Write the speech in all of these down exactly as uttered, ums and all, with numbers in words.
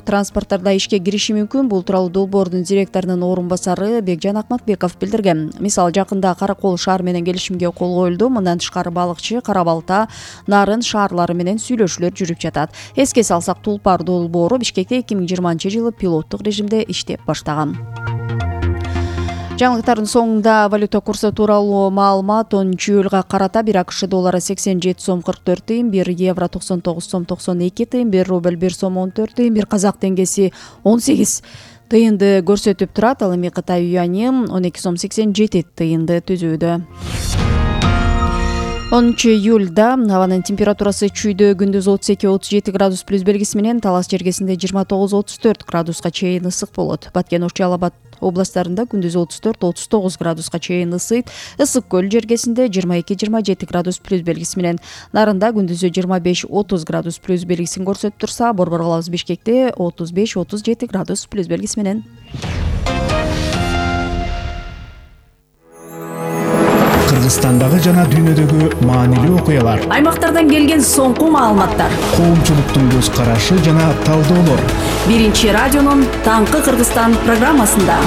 транспорттарда ишке кириши мүмкүн. Бул тууралуу долбоордун директорунун орун басары Бекжан Акматбеков билдирген. Мисалы, жакында Каракол шаар менен келишимге кол коюлду. Мындан тышкары балыкчы, Кара Балта, Нарын шаарлары менен сүйлөшүүлөр жүрүп жатат. Эске салсак, Тулпар долбоору Бишкекте эки миң жыйырманчы жылы пилоттук режимде иштеп баштаган. Жаңылыктардын соңунда валюта курсу тууралуу маалымат. онунчу июлга карата бир АКШ доллары сексен жети сом кырк төрт тыйын, бир евро токсон тогуз сом токсон эки тыйын, бир рубль бир сом он төрт тыйын, бир казак теңгеси он сегиз тыйынды көрсөтүп турат. Ал эми Кытай юани он эки сом сексен жети тыйынды түзүүдө. онунчу июлда абанын температурасы чүйдө күндүз отуз эки отуз жети градус плюс белгиси менен, Талас жергесинде жыйырма тогуз отуз төрт градуска чейин ысык болот. Баткен, Ош, Жалал Абад областарында күндүз отуз төрт отуз тогуз градуска чейин ысыйт. Ысык көл жергесинде жыйырма эки жыйырма жети градус плюс белгиси менен, Нарында күндүзү жыйырма беш отуз градус плюс белгисин көрсөтүп турса, Борбор калабыз Бишкекте отуз беш отуз жети градус плюс белгиси менен. Кыргызстандагы жана дүйнөдөгү маанилүү окуялар, аймактардан келген соңку маалыматтар, коомчулуктун көз карашы жана талдоолор. Биринчи радионун Таңкы Кыргызстан программасында.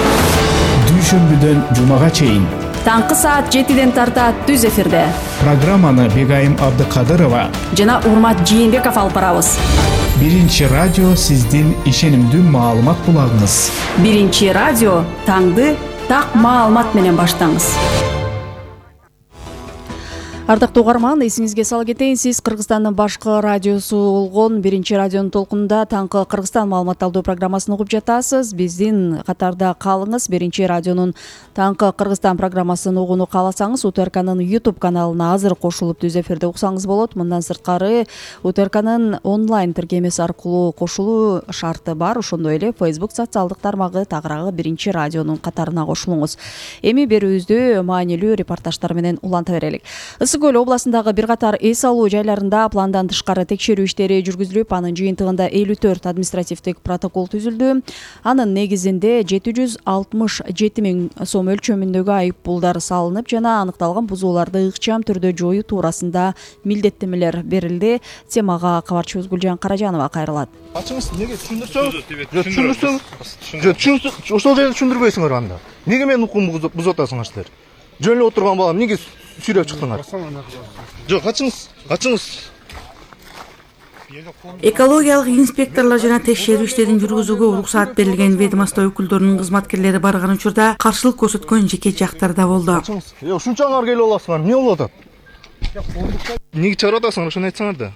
Дүйшөмбүдөн жумага чейин. Таңкы саат жетиден тарта түз эфирде. Программаны Бегайым Абдыкадырова жана Урмат Жээнбеков алып барабыз. Биринчи радио сиздин ишенимдүү маалымат булагыңыз. Биринчи радио таңды так маалымат менен баштаңыз. Ардактуу угарман, эсиңизге сала кетейин, сиз Кыргызстандын башкы радиосу болгон Биринчи радионун толкунунда Таңкы Кыргызстан маалымат алуу программасын угуп жатасыз. Биздин катарда калыңыз. Биринчи радионун Таңкы Кыргызстан программасын угууну кааласаңыз, УТРКнын YouTube каналына азыр кошулуп түз эфирде уксаңыз болот. Мындан сырткары УТРКнын онлайн тиркемеси аркылуу кошулуу шарты бар. Ошондой эле Facebook социалдык тармагы тагыраагы Биринчи радионун катарына кошулуңуз. Эми берүүбүздү маанилүү репортаждар менен уланта берелик. Ысык Көл областындагы бир катар эс алуу жайларында пландан тышкары текшерүү иштери жүргүзүлүп, анын жыйынтыгында элүү төрт административдик протокол түзүлдү. Анын негизинде жети жүз алтымыш жети миң сом өлчөмүндөгү айып пулдар салынып, жана аныкталган бузууларды ыкчам түрдө жоюу туурасында милдеттенмелер берилди. Темага кабарчыбыз Гүлжан Каражанова кайрылат. Ачыңыз, неге түшүндүрсөңүз? Түшүндүрсөңүз? Түшүндүрсөңүз? Ошол жерде түшүндүрбөйсүңөр анда. Неге менин укугумду бузуп атасыңар силер? Жөн эле отурган балам, неге сүйрөп чыктыңар? Жок, ачыңыз, ачыңыз. Экологиялык инспекторлор жана текшерүү иштерин жүргүзүүгө уруксаат берилген ведомство өкүлдөрүнүн кызматкерлери барган учурда каршылык көрсөткөн жеке жактар да болду. Жок, ушунчаңар келип аласыңар, эмне болуп атат? Неге чыгарып атасыңар, ошону айтсаңар да.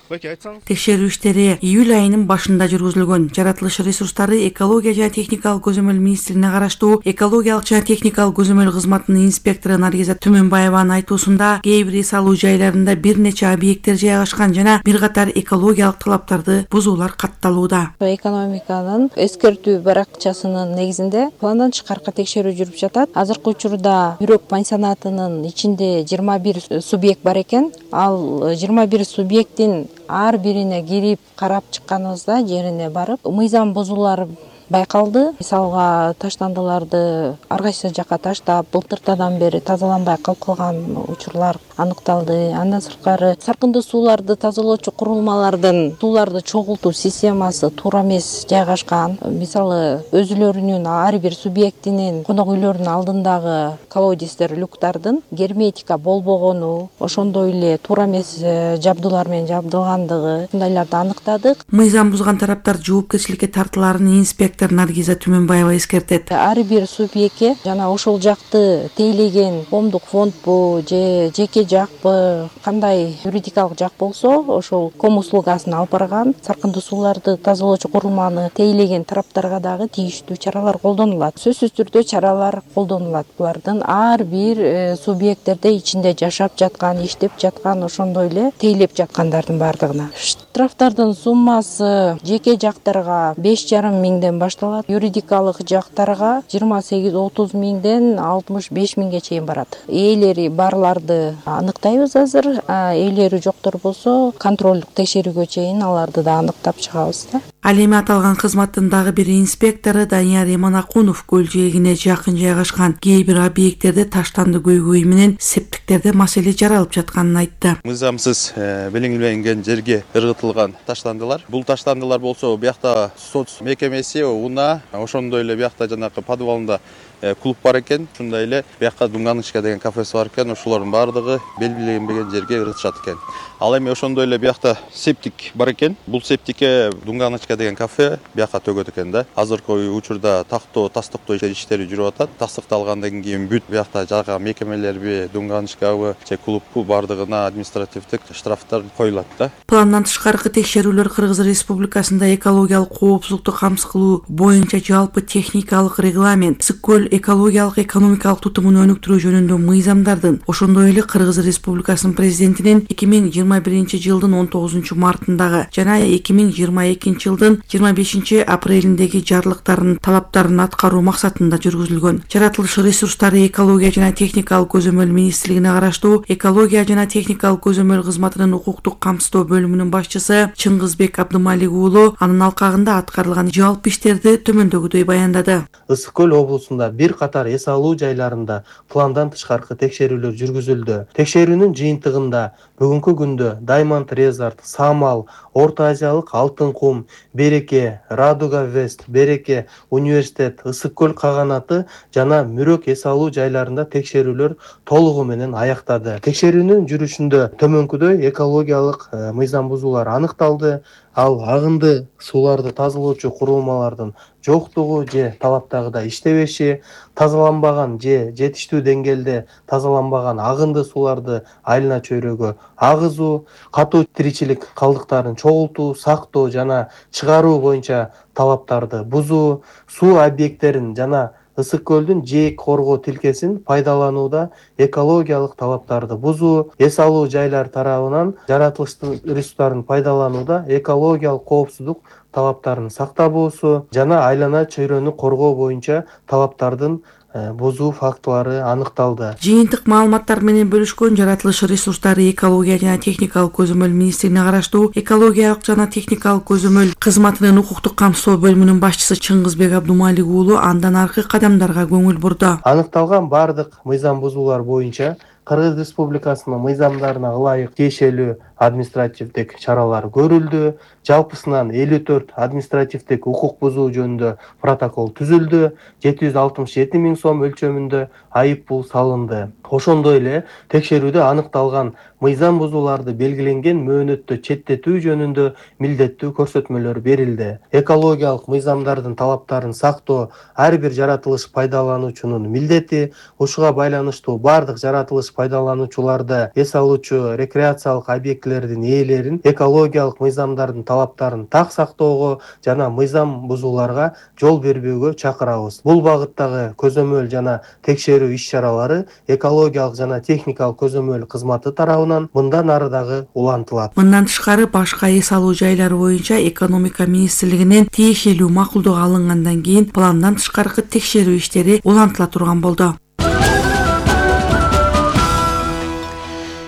Текшерүү иштери июль айынын башында жүргүзүлгөн. Жаратылыш ресурстары, экология жана техникалык көзөмөл министрлигине караштуу экологиялык жана техникалык көзөмөл кызматынын инспектору Наргиза Түмөнбаеванын айтуусунда, кээ бир эс алуу жайларында бир нече объекттер жайгашкан жана бир катар экологиялык талаптарды бузуулар катталууда. Экономиканын эскертүү баракчасынын негизинде пландан тышкаркы текшерүү жүрүп жатат. Азыркы учурда Бирок пансионатынын ичинде жыйырма бир субъект бар экен. Ал жыйырма бир субъекттин ар бирине кирип карап чыкканыбызда, жерине барып, мыйзам бузуулар байкалды. Мисалга таштандыларды ар кайсы жакка таштап, былтыртадан бери тазаланбай калып калган учурлар аныкталды. Андан сырткары саркындуу сууларды тазалоочу курулмалардын сууларды чогултуу системасы туура эмес жайгашкан. Мисалы, өзүлөрүнүн ар бир субъектинин конок үйлөрүнүн алдындагы колодецтер, люктардын герметика болбогону, ошондой эле туура эмес жабдуулар менен жабдылгандыгы, ушундайларды аныктадык. Мыйзам бузган тараптар жоопкерчиликке тартыларын инспектор Наргиза Түмөнбаева эскертет. Ар бир субъектке жана ошол жакты тейлеген коомдук фондбу же жеке жакпы, кандай юридикалык жак болсо, ошол ком услугасын алып барган, саркындуу сууларды тазалоочу курулманы тейлеген тараптарга дагы тийиштүү чаралар колдонулат. Сөзсүз түрдө чаралар колдонулат. Булардын ар бир субъекттерде ичинде жашап жаткан, иштеп жаткан, ошондой эле тейлеп жаткандардын бардыгына. Штрафтардын суммасы жеке жактарга беш жарым миңден башталат, юридикалык жактарга жыйырма сегиз отуз миңден алтымыш беш миңге чейин барат. Ээлери барларды аныктайбыз азыр, ээлери жоктор болсо контролдук текшерүүгө чейин аларды да аныктап чыгабыз да. Ал эми аталган кызматтын дагы бир инспектору Данияр Эманакунов көл жээгине жакын жайгашкан кээ бир объекттерде таштанды көйгөй менен септиктерде маселе жаралып жатканын айтты. Мыйзамсыз белгиленген жерге ыргытылган таштандылар. Бул таштандылар болсо биякта соц мекемеси уна ошондой эле биякта жанакы подвалында клуб бар экен, ушундай эле биякка Дунганычка деген кафеси бар экен, ошолордун баардыгы белгиленбеген жерге ыргытышат экен. Ал эми ошондой эле биякта септик бар экен. Бул септикке Дунганычка деген кафе биякка төгөт экен да. Азыркы учурда тактоо, тастыктоо иштери жүрүп атат. Тастыкталгандан кийин бүт биякта жага мекемелерби, Дунганычкабы, же клуббу баардыгына административдик штрафтар коюлат да. Пландан тышкаркы текшерүүлөр Кыргыз Республикасында экологиялык коопсуздукту камсыз кылуу боюнча жалпы техникалык регламент, Ысык-Көл экологиялык экономикалык тутумун өнүктүрүү жөнүндө мыйзамдардын, ошондой эле Кыргыз Республикасынын президентинин эки миң жыйырма биринчи жылдын он тогузунчу мартындагы жана эки миң жыйырма экинчи жылдын жыйырма бешинчи апрелиндеги жарлыктардын талаптарын аткаруу максатында жүргүзүлгөн. Жаратылыш ресурстары экология жана техникалык көзөмөл министрлигине караштуу экология жана техникалык көзөмөл кызматынын укуктук камсыздоо бөлүмүнүн башчысы Чыңгызбек Абдымалик уулу анын алкагында аткарылган жалпы иштерди төмөндөгүдөй баяндады. Ысык-Көл облусунда бир катар эс алуу жайларында пландан тышкаркы текшерүүлөр жүргүзүлдү. Текшерүүнүн жыйынтыгында бүгүнкү күндө Diamond Resort, Самал, Орто Азиялык Алтын кум, Береке, Радуга Вест, Береке, Университет, Ысык-Көл каганаты жана Мүрөк эс алуу жайларында текшерүүлөр толугу менен аяктады. Текшерүүнүн жүрүшүндө төмөнкүдөй экологиялык мыйзам бузуулар аныкталды. Ал агынды сууларды тазалоочу курулмалардын жоктугу же талаптагыдай иштебеши, тазаланбаган же жетиштүү деңгээлде тазаланбаган агынды сууларды айылына чөйрөгө агызуу, катуу тиричилик калдыктарын чогултуу, сактоо жана чыгаруу боюнча талаптарды бузуу, суу объекттерин жана Ысык-Көлдүн жээк коргоо тилкесин пайдаланууда экологиялык талаптарды бузуу, эс алуу жайлар тарабынан жаратылыштын ресурстарын пайдаланууда экологиялык коопсуздук талаптарын сактабоосу жана айлана чөйрөнү коргоо боюнча талаптардын бузуу фактылары аныкталды. Жыйынтык маалыматтар менен бөлүшкөн жаратылыш ресурстары экология жана техникалык көзөмөл министрлигине караштуу экологиялык жана техникалык көзөмөл кызматынын укуктук камсыздоо бөлүмүнүн башчысы Чыңгызбек Абдымалик уулу андан аркы кадамдарга көңүл бурду. Аныкталган бардык мыйзам бузуулар боюнча Кыргыз Республикасынын мыйзамдарына ылайык тиешелүү административдик чаралар көрүлдү. Жалпысынан элүү төрт административдик укук бузуу жөнүндө протокол түзүлдү. жети жүз алтымыш жети миң сом өлчөмүндө айып пул салынды. Ошондой эле текшерүүдө аныкталган мыйзам бузууларды белгиленген мөөнөттө четтетүү жөнүндө милдеттүү көрсөтмөлөр берилди. Экологиялык мыйзамдардын талаптарын сактоо ар бир жаратылыш пайдалануучунун милдети. Ушуга байланыштуу бардык жаратылыш пайдалануучуларды, эс алуучу рекреациялык объектилердин ээлерин экологиялык мыйзамдардын талаптарын так сактоого жана мыйзам бузууларга жол бербөөгө чакырабыз. Бул багыттагы көзөмөл жана текшерүү иш-чаралары экологиялык жана техникалык көзөмөл кызматы тарабынан мындан ары дагы улантылат. Мындан тышкары башка эс алуу жайлары боюнча экономика министрлигинен тиешелүү макулдук алынгандан кийин пландан тышкаркы текшерүү иштери улантыла турган болду.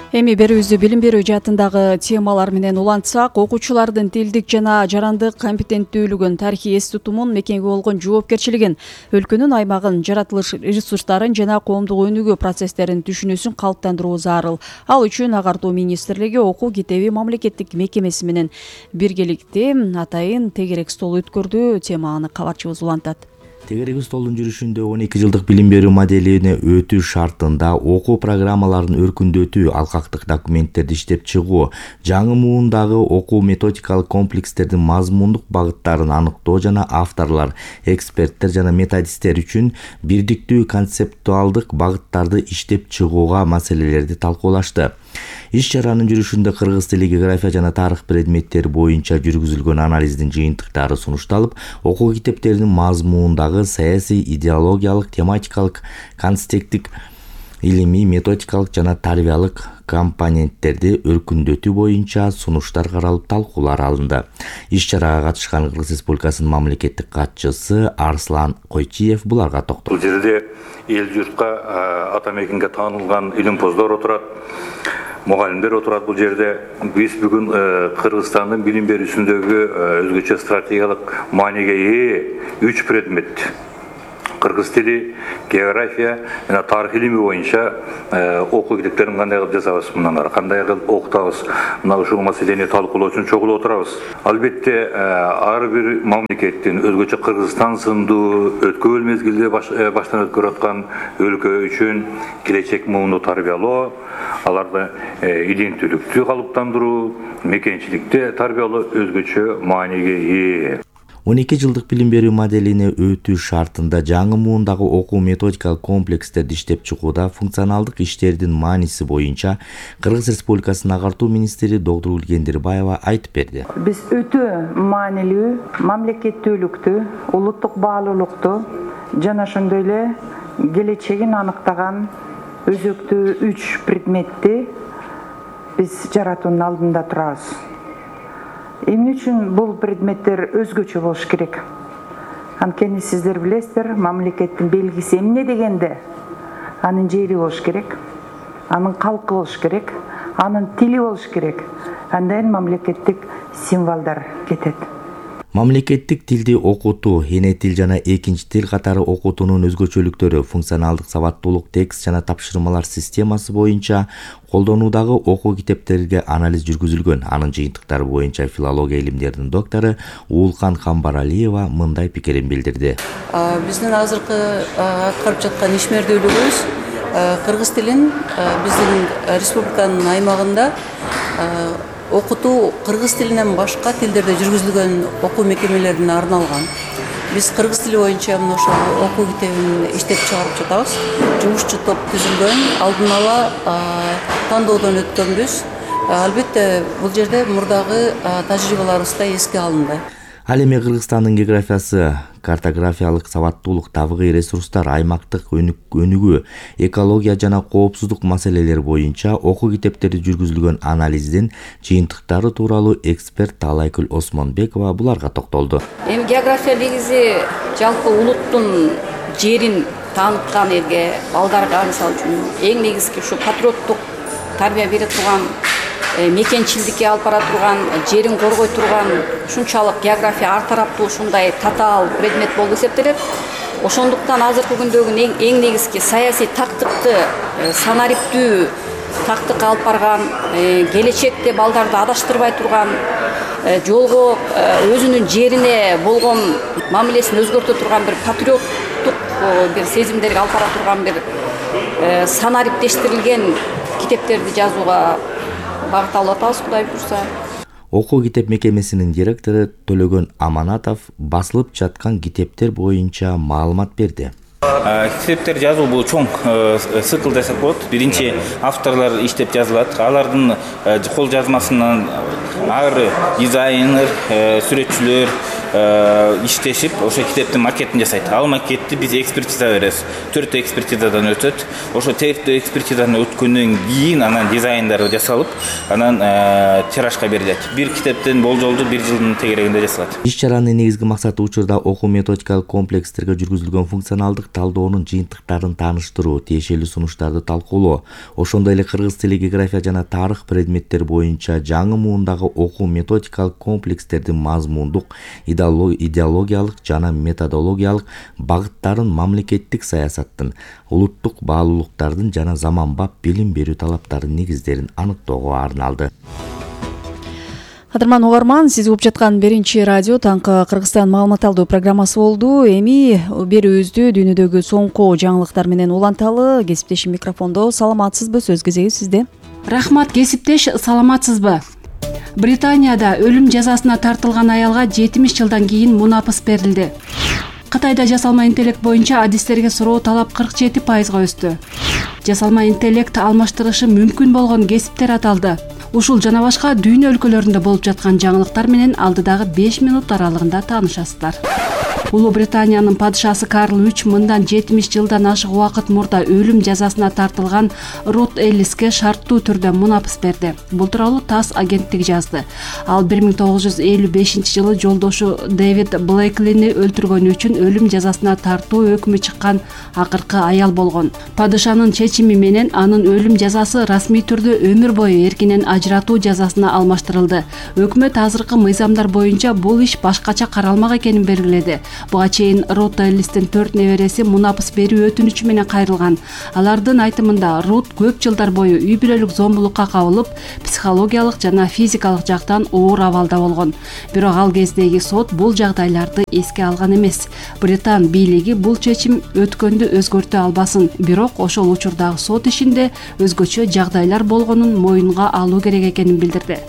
Эми берүүбүздү билим берүү жаатындагы темалар менен улантсак, окуучулардын тилдик жана жарандык компетенттүүлүгүн, тарыхый эс тутумун, мекенге болгон жоопкерчилигин, өлкөнүн аймагын, жаратылыш ресурстарын жана коомдук өнүгүү процесстерин түшүнүүсүн калыптандыруу зарыл. Ал үчүн Агартуу министрлиги окуу китеби мамлекеттик мекемеси менен биргеликте атайын тегерек стол өткөрдү. Теманы кабарчыбыз улантат. Тегерек столдун жүрүшүндө он эки жылдык билим берүү моделине өтүү шартында окуу программаларын өркүндөтүү, алкактык документтерди иштеп чыгуу, жаңы муундагы окуу методикалык комплекстердин мазмундук багыттарын аныктоо жана авторлор, эксперттер жана методисттер үчүн бирдиктүү концептуалдык багыттарды иштеп чыгууга маселелерди талкуулашты. Иш-чаранын жүрүшүндө кыргыз тили, география жана тарых предметтери боюнча жүргүзүлгөн анализдин жыйынтыктары сунушталып, окуу китептеринин мазмундагы саясий, идеологиялык, тематикалык, контексттик, илимий, методикалык жана тарбиялык компоненттерди өркүндөтүү боюнча сунуштар каралып, талкуулар алынды. Иш-чарага катышкан Кыргыз Республикасынын мамлекеттик катчысы Арслан Койчиев буларга токтолду. Бул жерде эл журтка ата мекенге таанылган илимпоздор отурат. мугалимдер отурат бул жерде. Биз бүгүн Кыргызстандын билим берүүсүндөгү өзгөчө стратегиялык мааниге ээ үч предмет: кыргыз тили, география жана тарых илими боюнча окуу китептерин кандай кылып жасабыз, мындан ары кандай кылып окутабыз, мына ушул маселени талкуулоо үчүн чогулуп отурабыз. Албетте ар бир мамлекеттин өзгөчө Кыргызстан сындуу өткөн мезгилде баштан өткөрүп аткан өлкө үчүн келечек муунду тарбиялоо, аларды иденттүүлүктү калыптандыруу, мекенчиликти тарбиялоо өзгөчө мааниге ээ. он эки жылдык билим берүү моделине өтүү шартында жаңы муундагы окуу методикалык комплекстерди иштеп чыгууда функционалдык иштердин мааниси боюнча Кыргыз Республикасынын агартуу министри доктор Гулгендирбаева айтып берди. Биз өтө маанилүү мамлекеттүүлүктү, улуттук баалуулукту жана ошондой эле келечегин аныктаган өзөктүү үч предметти биз жаратуунун алдында турабыз. Эмне үчүн бул предметтер өзгөчө болуш керек? Анткени сиздер билесиздер, мамлекеттин белгиси эмне дегенде анын жери болуш керек, анын калкы болуш керек, анын тили болуш керек. Андан мамлекеттик символдор кетет. Мамлекеттик тилди окутуу, эне тил жана экинчи тил катары окутуунун өзгөчөлүктөрү, функционалдык сабаттуулук, текст жана тапшырмалар системасы боюнча колдонуудагы окуу китептерге анализ жүргүзүлгөн. Анын жыйынтыктары боюнча филология илимдеринин доктору Уулкан Камбаралиева мындай пикирин билдирди. Биздин азыркы аткарып жаткан ишмердүүлүгүбүз кыргыз тилин биздин республиканын аймагында окутуу кыргыз тилинен башка тилдерде жүргүзүлгөн окуу мекемелерине арналган. Биз кыргыз тили боюнча мына ошол окуу китебин иштеп чыгарып жатабыз. Жумушчу топ түзүлгөн, алдын ала тандоодон өткөнбүз. Албетте бул жерде мурдагы тажрыйбаларыбыз да эске алынды. Ал эми Кыргызстандын географиясы, картографиялык сабаттуулук, табигый ресурстар, аймактык өнүгүү, экология жана коопсуздук маселелери боюнча окуу китептерде жүргүзүлгөн анализдин жыйынтыктары тууралуу эксперт Таалайкүл Осмонбекова буларга токтолду. Эми география негизи жалпы улуттун жерин тааныткан элге, балдарга мисалы үчүн эң негизги ушу патриоттук тарбия бере турган, мекенчилдикке алып бара турган, жерин коргой турган ушунчалык география ар тараптуу ушундай татаал предмет болуп эсептелет. Ошондуктан азыркы күндөгү эң негизги саясий тактыкты, санариптүү тактык алып барган, келечекте балдарды адаштырбай турган, жолго өзүнүн жерине болгон мамилесин өзгөртө турган бир патриоттук бир сезимдерге алып бара турган бир санариптештирилген китептерди жазууга багыт алып атабыз, Кудай буйрса. Окуу китеп мекемесинин директору Төлөгөн Аманатов басылып жаткан китептер боюнча маалымат берди. Китептер жазуу бул чоң цикл десек болот. Биринчи авторлор иштеп жазылат. Алардын кол жазмасынан ар дизайнер, сүрөтчүлөр иштешип ошо китептин макетин жасайт. Ал макетти биз экспертиза беребиз. төрт экспертизадан өтөт. Ошо төрт экспертизадан өткөндөн кийин анан дизайндары жасалып, анан тиражга берилет. Бир китептин болжолду бир жылдын тегерегинде жасалат. Иш-чаранын негизги максаты учурда окуу методикалык комплекстерге жүргүзүлгөн функционалдык талдоонун жыйынтыктарын тааныштыруу, тиешелүү сунуштарды талкуулоо, ошондой эле кыргыз тили, география жана тарых предметтер боюнча жаңы муундагы окуу методикалык комплекстердин мазмундук, идеологиялык жана методологиялык багыттарын мамлекеттик саясаттын, улуттук баалуулуктардын жана заманбап билим берүү талаптарынын негиздерин аныктоого арналды. Кадырман угарман, сиз угуп жаткан биринчи радио таңкы Кыргызстан маалымат алуу программасы болду. Эми берүүбүздү дүйнөдөгү соңку жаңылыктар менен уланталы. Кесиптешим микрофондо. Саламатсызбы? Сөз кезеги сизде. Рахмат, кесиптеш, саламатсызбы? Британияда өлүм жазасына тартылган аялга жетимиш жылдан кийин мунапыс берилди. Кытайда жасалма интеллект боюнча адистерге суроо талап кырк жети пайызга өстү. Жасалма интеллект алмаштырышы мүмкүн болгон кесиптер аталды. Ушул жана башка дүйнө өлкөлөрүндө болуп жаткан жаңылыктар менен алдыдагы беш минут аралыгында таанышасыздар. Улуу Британиянын падышасы Карл үч мындан жетимиш жылдан ашык убакыт мурда өлүм жазасына тартылган Рут Эллиске шарттуу түрдө мунапыс берди. Бул тууралуу ТАСС агенттиги жазды. Ал бир миң тогуз жүз элүү бешинчи жылы жолдошу Дэвид Блейклини өлтүргөнү үчүн өлүм жазасына тартуу өкмү чыккан акыркы аял болгон. Падышанын чечими менен анын өлүм жазасы расмий түрдө өмүр бою эркинен ажыратуу жазасына алмаштырылды. Өкмөт азыркы мыйзамдар боюнча бул иш башкача каралмак экенин белгиледи. Буга чейин Рут Эллистин төрт небереси мунапыс берүү өтүнүчү менен кайрылган. Алардын айтымында Рут көп жылдар бою үй бүлөлүк зомбулукка кабылып, психологиялык жана физикалык жактан оор абалда болгон. Бирок ал кездеги сот бул жагдайларды эске алган эмес. Британ бийлиги бул чечим өткөндү өзгөртө албасын, бирок ошол учурдагы сот ишинде өзгөчө жагдайлар болгонун моюнга алуу керек экенин билдирди.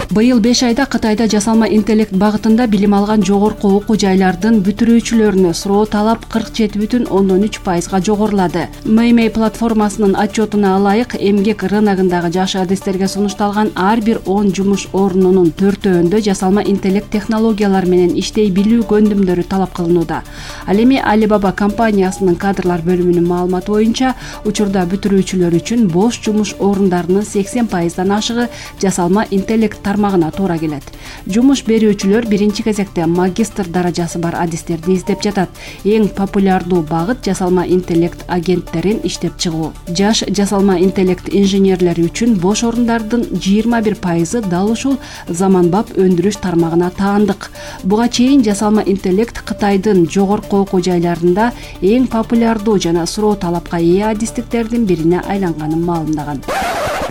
Быйыл беш айда Кытайда жасалма интеллект багытында билим алган жогорку окуу жайлардын бүтүрүүчүлөрүнө суроо талап кырк жети бүтүн ондон үч пайызга жогорулады. Мэймэй платформасынын отчетуна ылайык, эмгек рыногундагы жаш адистерге сунушталган ар бир он жумуш орнунун төртөөндө жасалма интеллект технологиялары менен иштей билүү көндүмдөрү талап кылынууда. Ал эми Alibaba компаниясынын кадрлар бөлүмүнүн маалыматы боюнча, учурда бүтүрүүчүлөр үчүн бош жумуш орундарынын сексен пайыздан ашыгы жасалма интеллект тармагына туура келет. Жумуш берүүчүлөр биринчи кезекте магистр даражасы бар адистерди издеп жатат. Эң популярдуу багыт жасалма интеллект агенттерин иштеп чыгуу. Жаш жасалма интеллект инженерлери үчүн бош орундардын жыйырма бир пайызы дал ушул заманбап өндүрүш тармагына таандык. Буга чейин жасалма интеллект Кытайдын жогорку окуу жайларында эң популярдуу жана суроо талапка ээ адистиктердин бирине айланганын маалымдаган.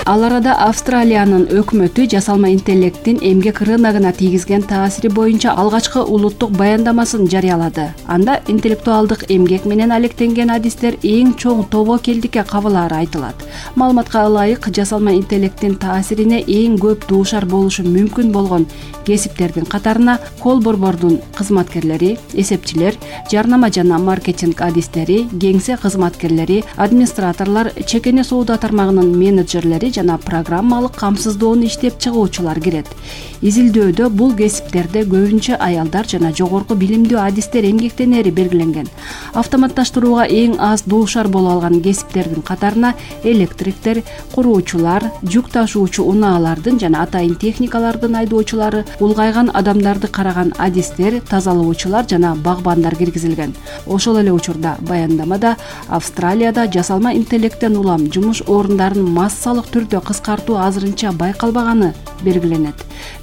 Ал арада Австралиянын өкмөтү жасалма интеллекттин эмгек рыногуна тийгизген таасири боюнча алгачкы улуттук баяндамасын жарыялады. Анда интеллектуалдык эмгек менен алектенген адистер эң чоң тобокелдикке кабылаары айтылат. Маалыматка ылайык, жасалма интеллекттин таасирине эң көп дуушар болушу мүмкүн болгон кесиптердин катарына кол борбордун кызматкерлери, эсепчилер, жарнама жана маркетинг адистери, кеңсе кызматкерлери, администраторлор, чекене соода тармагынын менеджерлери жана программалык камсыздоону иштеп чыгуучулар кирет. Изилдөөдө бул кесиптерде көбүнчө аялдар жана жогорку билимдүү адистер эмгектенери белгиленген. Автоматташтырууга эң аз дуушар боло алган кесиптердин катарына электриктер, куруучулар, жүк ташуучу унаалардын жана атайын техникалардын айдоочулары, улгайган адамдарды караган адистер, тазалоочулар жана багбандар киргизилген. Ошол эле учурда баяндамада Австралияда жасалма интеллекттен улам жумуш орундарын массалык түрдө кыскартуу азырынча байкалбаганы белгиленет.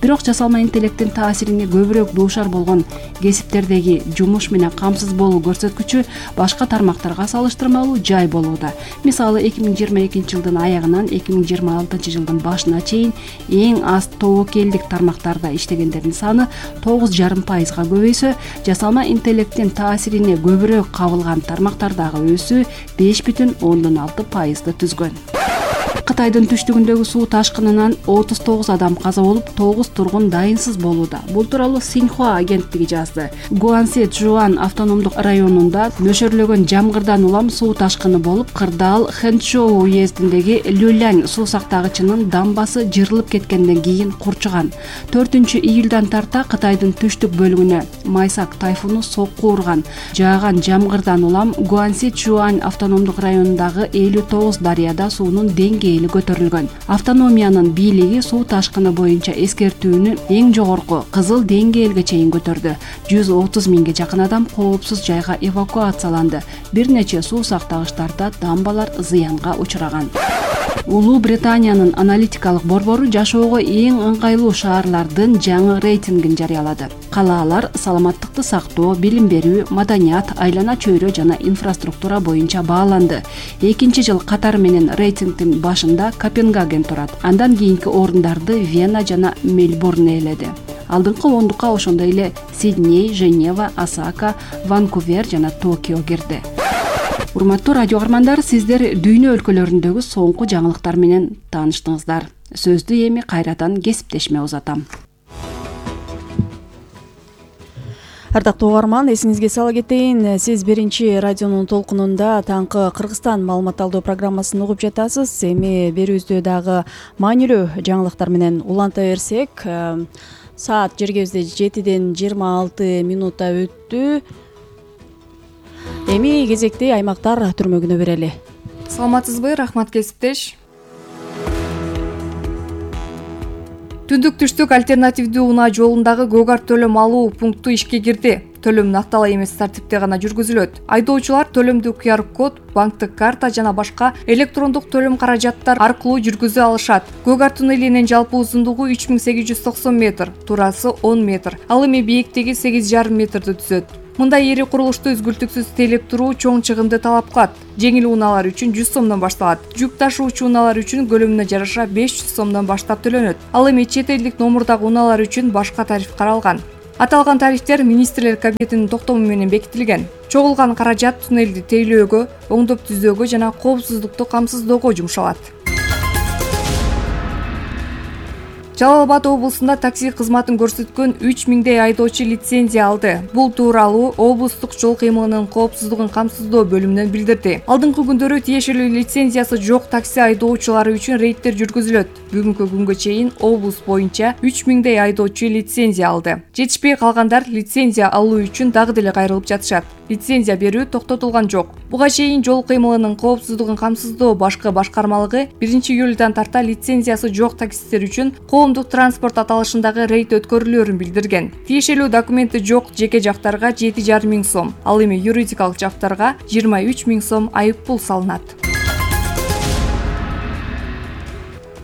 Бирок жасалма интеллекттин таасирине көбүрөөк дуушар болгон кесиптердеги жумуш менен камсыз болуу көрсөткүчү башка тармактарга салыштырмалуу жай болууда. Мисалы, эки миң жыйырма экинчи жылдын аягынан эки миң жыйырма алтынчы жылдын башына чейин эң аз тобокелдик тармактарда иштегендердин саны тогуз жарым пайызга көбөйсө, жасалма интеллекттин таасирине көбүрөөк кабылган тармактардагы өсүү беш бүтүн ондон алты пайызды түзгөн. Кытайдын түштүгүндөгү суу ташкынынан отуз тогуз адам каза болуп, тогуз тургун дайынсыз болууда. Бул тууралуу Синьхуа агенттиги жазды. Гуанси Чжуан автономдук районунда нөшөрлөгөн жамгырдан улам суу ташкыны болуп, Кырдаал Хэнчжоу уездиндеги Люлянь суу сактагычынын дамбасы жырылып кеткенден кийин курчуган. төртүнчү июлдан тарта Кытайдын түштүк бөлүгүнө Майсак тайфуну сокку урган. Жааган жамгырдан улам Гуанси Чжуан автономдук районундагы элүү тогуз дарыяда суунун деңгээли көтөрүлгөн. Автономиянын бийлиги суу ташкыны боюнча эскертүүнү эң жогорку кызыл деңгээлге чейин көтөрдү. жүз отуз миңге жакын адам коопсуз жайга эвакуацияланды. Бир нече суу сактагычтарда дамбалар зыянга учураган. Улуу Британиянын аналитикалык борбору жашоого эң ыңгайлуу шаарлардын жаңы рейтингин жарыялады. Калаалар саламаттыкты сактоо, билим берүү, маданият, айлана чөйрө жана инфраструктура боюнча бааланды. Экинчи жыл катары менен рейтингдин башында Копенгаген турат. Андан кийинки орундарды Вена жана Мельбурн ээледи. Алдыңкы ондукка ошондой эле Сидней, Женева, Осака, Ванкувер жана Токио кирди. Урматтуу радио каармандар, сиздер дүйнө өлкөлөрүндөгү соңку жаңылыктар менен тааныштыңыздар. Сөздү эми кайрадан кесиптешме узатам. Ардактуу угарман, эсиңизге сала кетейин, сиз биринчи радионун толкунунда таңкы Кыргызстан маалымат алуу программасын угуп жатасыз. Эми берүүбүздө дагы маанилүү жаңылыктар менен уланта берсек, Саат жергебизде жетиден жыйырма алты минутта өттү. Эми кезекти аймактар түрмөгүнө берели. Саламатсызбы, рахмат кесиптеш. Түндүк түштүк альтернативдүү унаа жолундагы Гөгар төлөм алуу пункту ишке кирди. Төлөм нактала эмес тартипте гана жүргүзүлөт. Айдоочулар төлөмдү ку ар код, банктык карта жана башка электрондук төлөм каражаттар аркылуу жүргүзө алышат. Гөгар туннелинин жалпы узундугу үч миң сегиз жүз токсон метр, турасы он метр. Ал эми бийиктиги сегиз жарым метрди түзөт. Мындай ири курулушту үзгүлтүксүз тейлеп туруу чоң чыгымды талап кылат. Жеңил унаалар үчүн жүз сомдон башталат. Жүк ташуучу унаалар үчүн көлөмүнө жараша беш жүз сомдон баштап төлөнөт. Ал эми чет элдик номурдагы унаалар үчүн башка тариф каралган. Аталган тарифтер министрлер кабинетинин токтому менен бекитилген. Чогулган каражат туннелди тейлөөгө, оңдоп түзөөгө жана коопсуздукту камсыздоого жумшалат. Жалал Абад облусунда такси кызматын көрсөткөн үч миңдей айдоочу лицензия алды. Бул тууралуу облустук жол кыймылынын коопсуздугун камсыздоо бөлүмүнөн билдирди. Алдыңкы күндөрү тиешелүү лицензиясы жок такси айдоочулары үчүн рейдтер жүргүзүлөт. Бүгүнкү күнгө чейин облус боюнча үч миңдей айдоочу лицензия алды. Жетишпей калгандар лицензия алуу үчүн дагы деле кайрылып жатышат. Лицензия берүү токтотулган жок. Буга чейин жол кыймылынын коопсуздугун камсыздоо башкы башкармалыгы биринчи июлдан тарта лицензиясы жок таксисттер үчүн коомдук транспорт аталышындагы рейд өткөрүлөөрүн билдирген. Тиешелүү документи жок жеке жактарга жети жарым миң сом, ал эми юридикалык жактарга жыйырма үч миң сом айып пул салынат.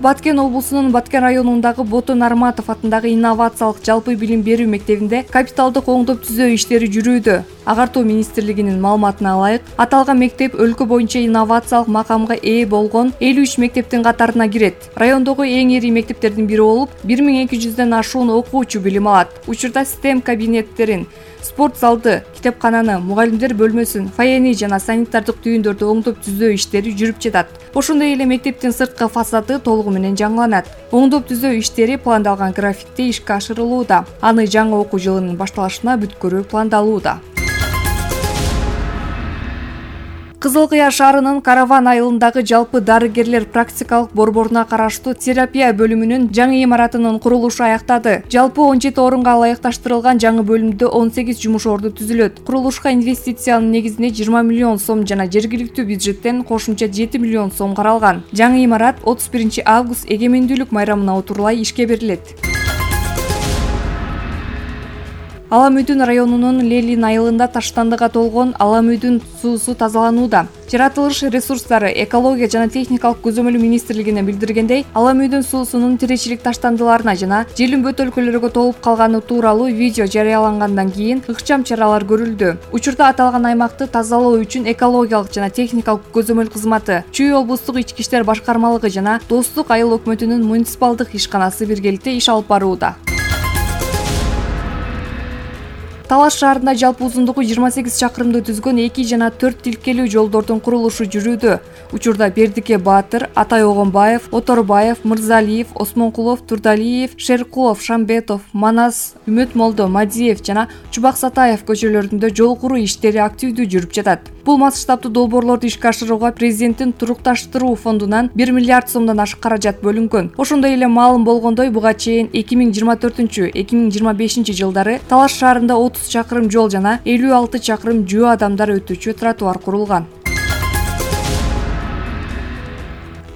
Баткен облусунун Баткен районундагы Бото Нарматов атындагы инновациялык жалпы билим берүү мектебинде капиталдык оңдоп түзөө иштери жүрүүдө. Агартуу министрлигинин маалыматына ылайык, аталган мектеп өлкө боюнча инновациялык макамга ээ болгон элүү үч мектептин катарына кирет. Райондогу эң ири мектептердин бири болуп, бир миң эки жүздөн ашуун окуучу билим алат. Учурда STEM кабинеттерин, спорт залды, китепкананы, мугалимдер бөлмөсүн, фойени жана санитардык түйүндөрдү оңдоп түзөө иштери жүрүп жатат. Ошондой эле мектептин сырткы фасады толугу менен жаңыланат. Оңдоп түзөө иштери пландалган графикте ишке ашырылууда. Аны жаңы окуу жылынын башталышына бүткөрүү пландалууда. Кызыл Кыя шаарынын Караван айылындагы жалпы дарыгерлер практикалык борборуна караштуу терапия бөлүмүнүн жаңы имаратынын курулушу аяктады. Жалпы он жети орунга ылайыкташтырылган жаңы бөлүмдө он сегиз жумуш орду түзүлөт. Курулушка инвестициянын негизине жыйырма миллион сом жана жергиликтүү бюджеттен кошумча жети миллион сом каралган. Жаңы имарат отуз биринчи август эгемендүүлүк майрамына отурлай ишке берилет. Алам Үйдүн районунун Лелин айылында таштандыга толгон Алам Үйдүн суусу тазаланууда. Жаратылыш ресурстары, экология жана техникалык көзөмөл министрлигине билдиргендей, Алам Үйдүн суусунун тиречилик таштандыларына жана желим бөтөлкөлөргө толуп калганы тууралуу видео жарыялангандан кийин ыкчам чаралар көрүлдү. Учурда аталган аймакты тазалоо үчүн экологиялык жана техникалык көзөмөл кызматы, Чүй облустук ички иштер башкармалыгы жана Достук айыл өкмөтүнүн муниципалдык ишканасы биргеликте иш алып барууда. Талаш шаарында жалпы узундугу жыйырма сегиз чакырымды түзгөн эки жана төрт тилкелүү жолдордун курулушу жүрүүдө. Учурда Бердике Баатыр, Атай Огонбаев, Оторбаев, Мырзалиев, Осмонкулов, Турдалиев, Шеркулов, Шамбетов, Манас, Үмөт Молдо, Мадиев жана Чубак Сатаев көчөлөрүндө жол куруу иштери активдүү жүрүп жатат. Бул масштабтуу долбоорлорду ишке ашырууга президенттин турукташтыруу фондунан бир миллиард сомдон ашык каражат бөлүнгөн. Ошондой эле маалым болгондой, буга чейин эки миң жыйырма төртүнчү эки миң жыйырма бешинчи жылдары Талаш шаарында отуз чакырым жол жана элүү алты чакырым жөө адамдар өтүүчү тротуар курулган.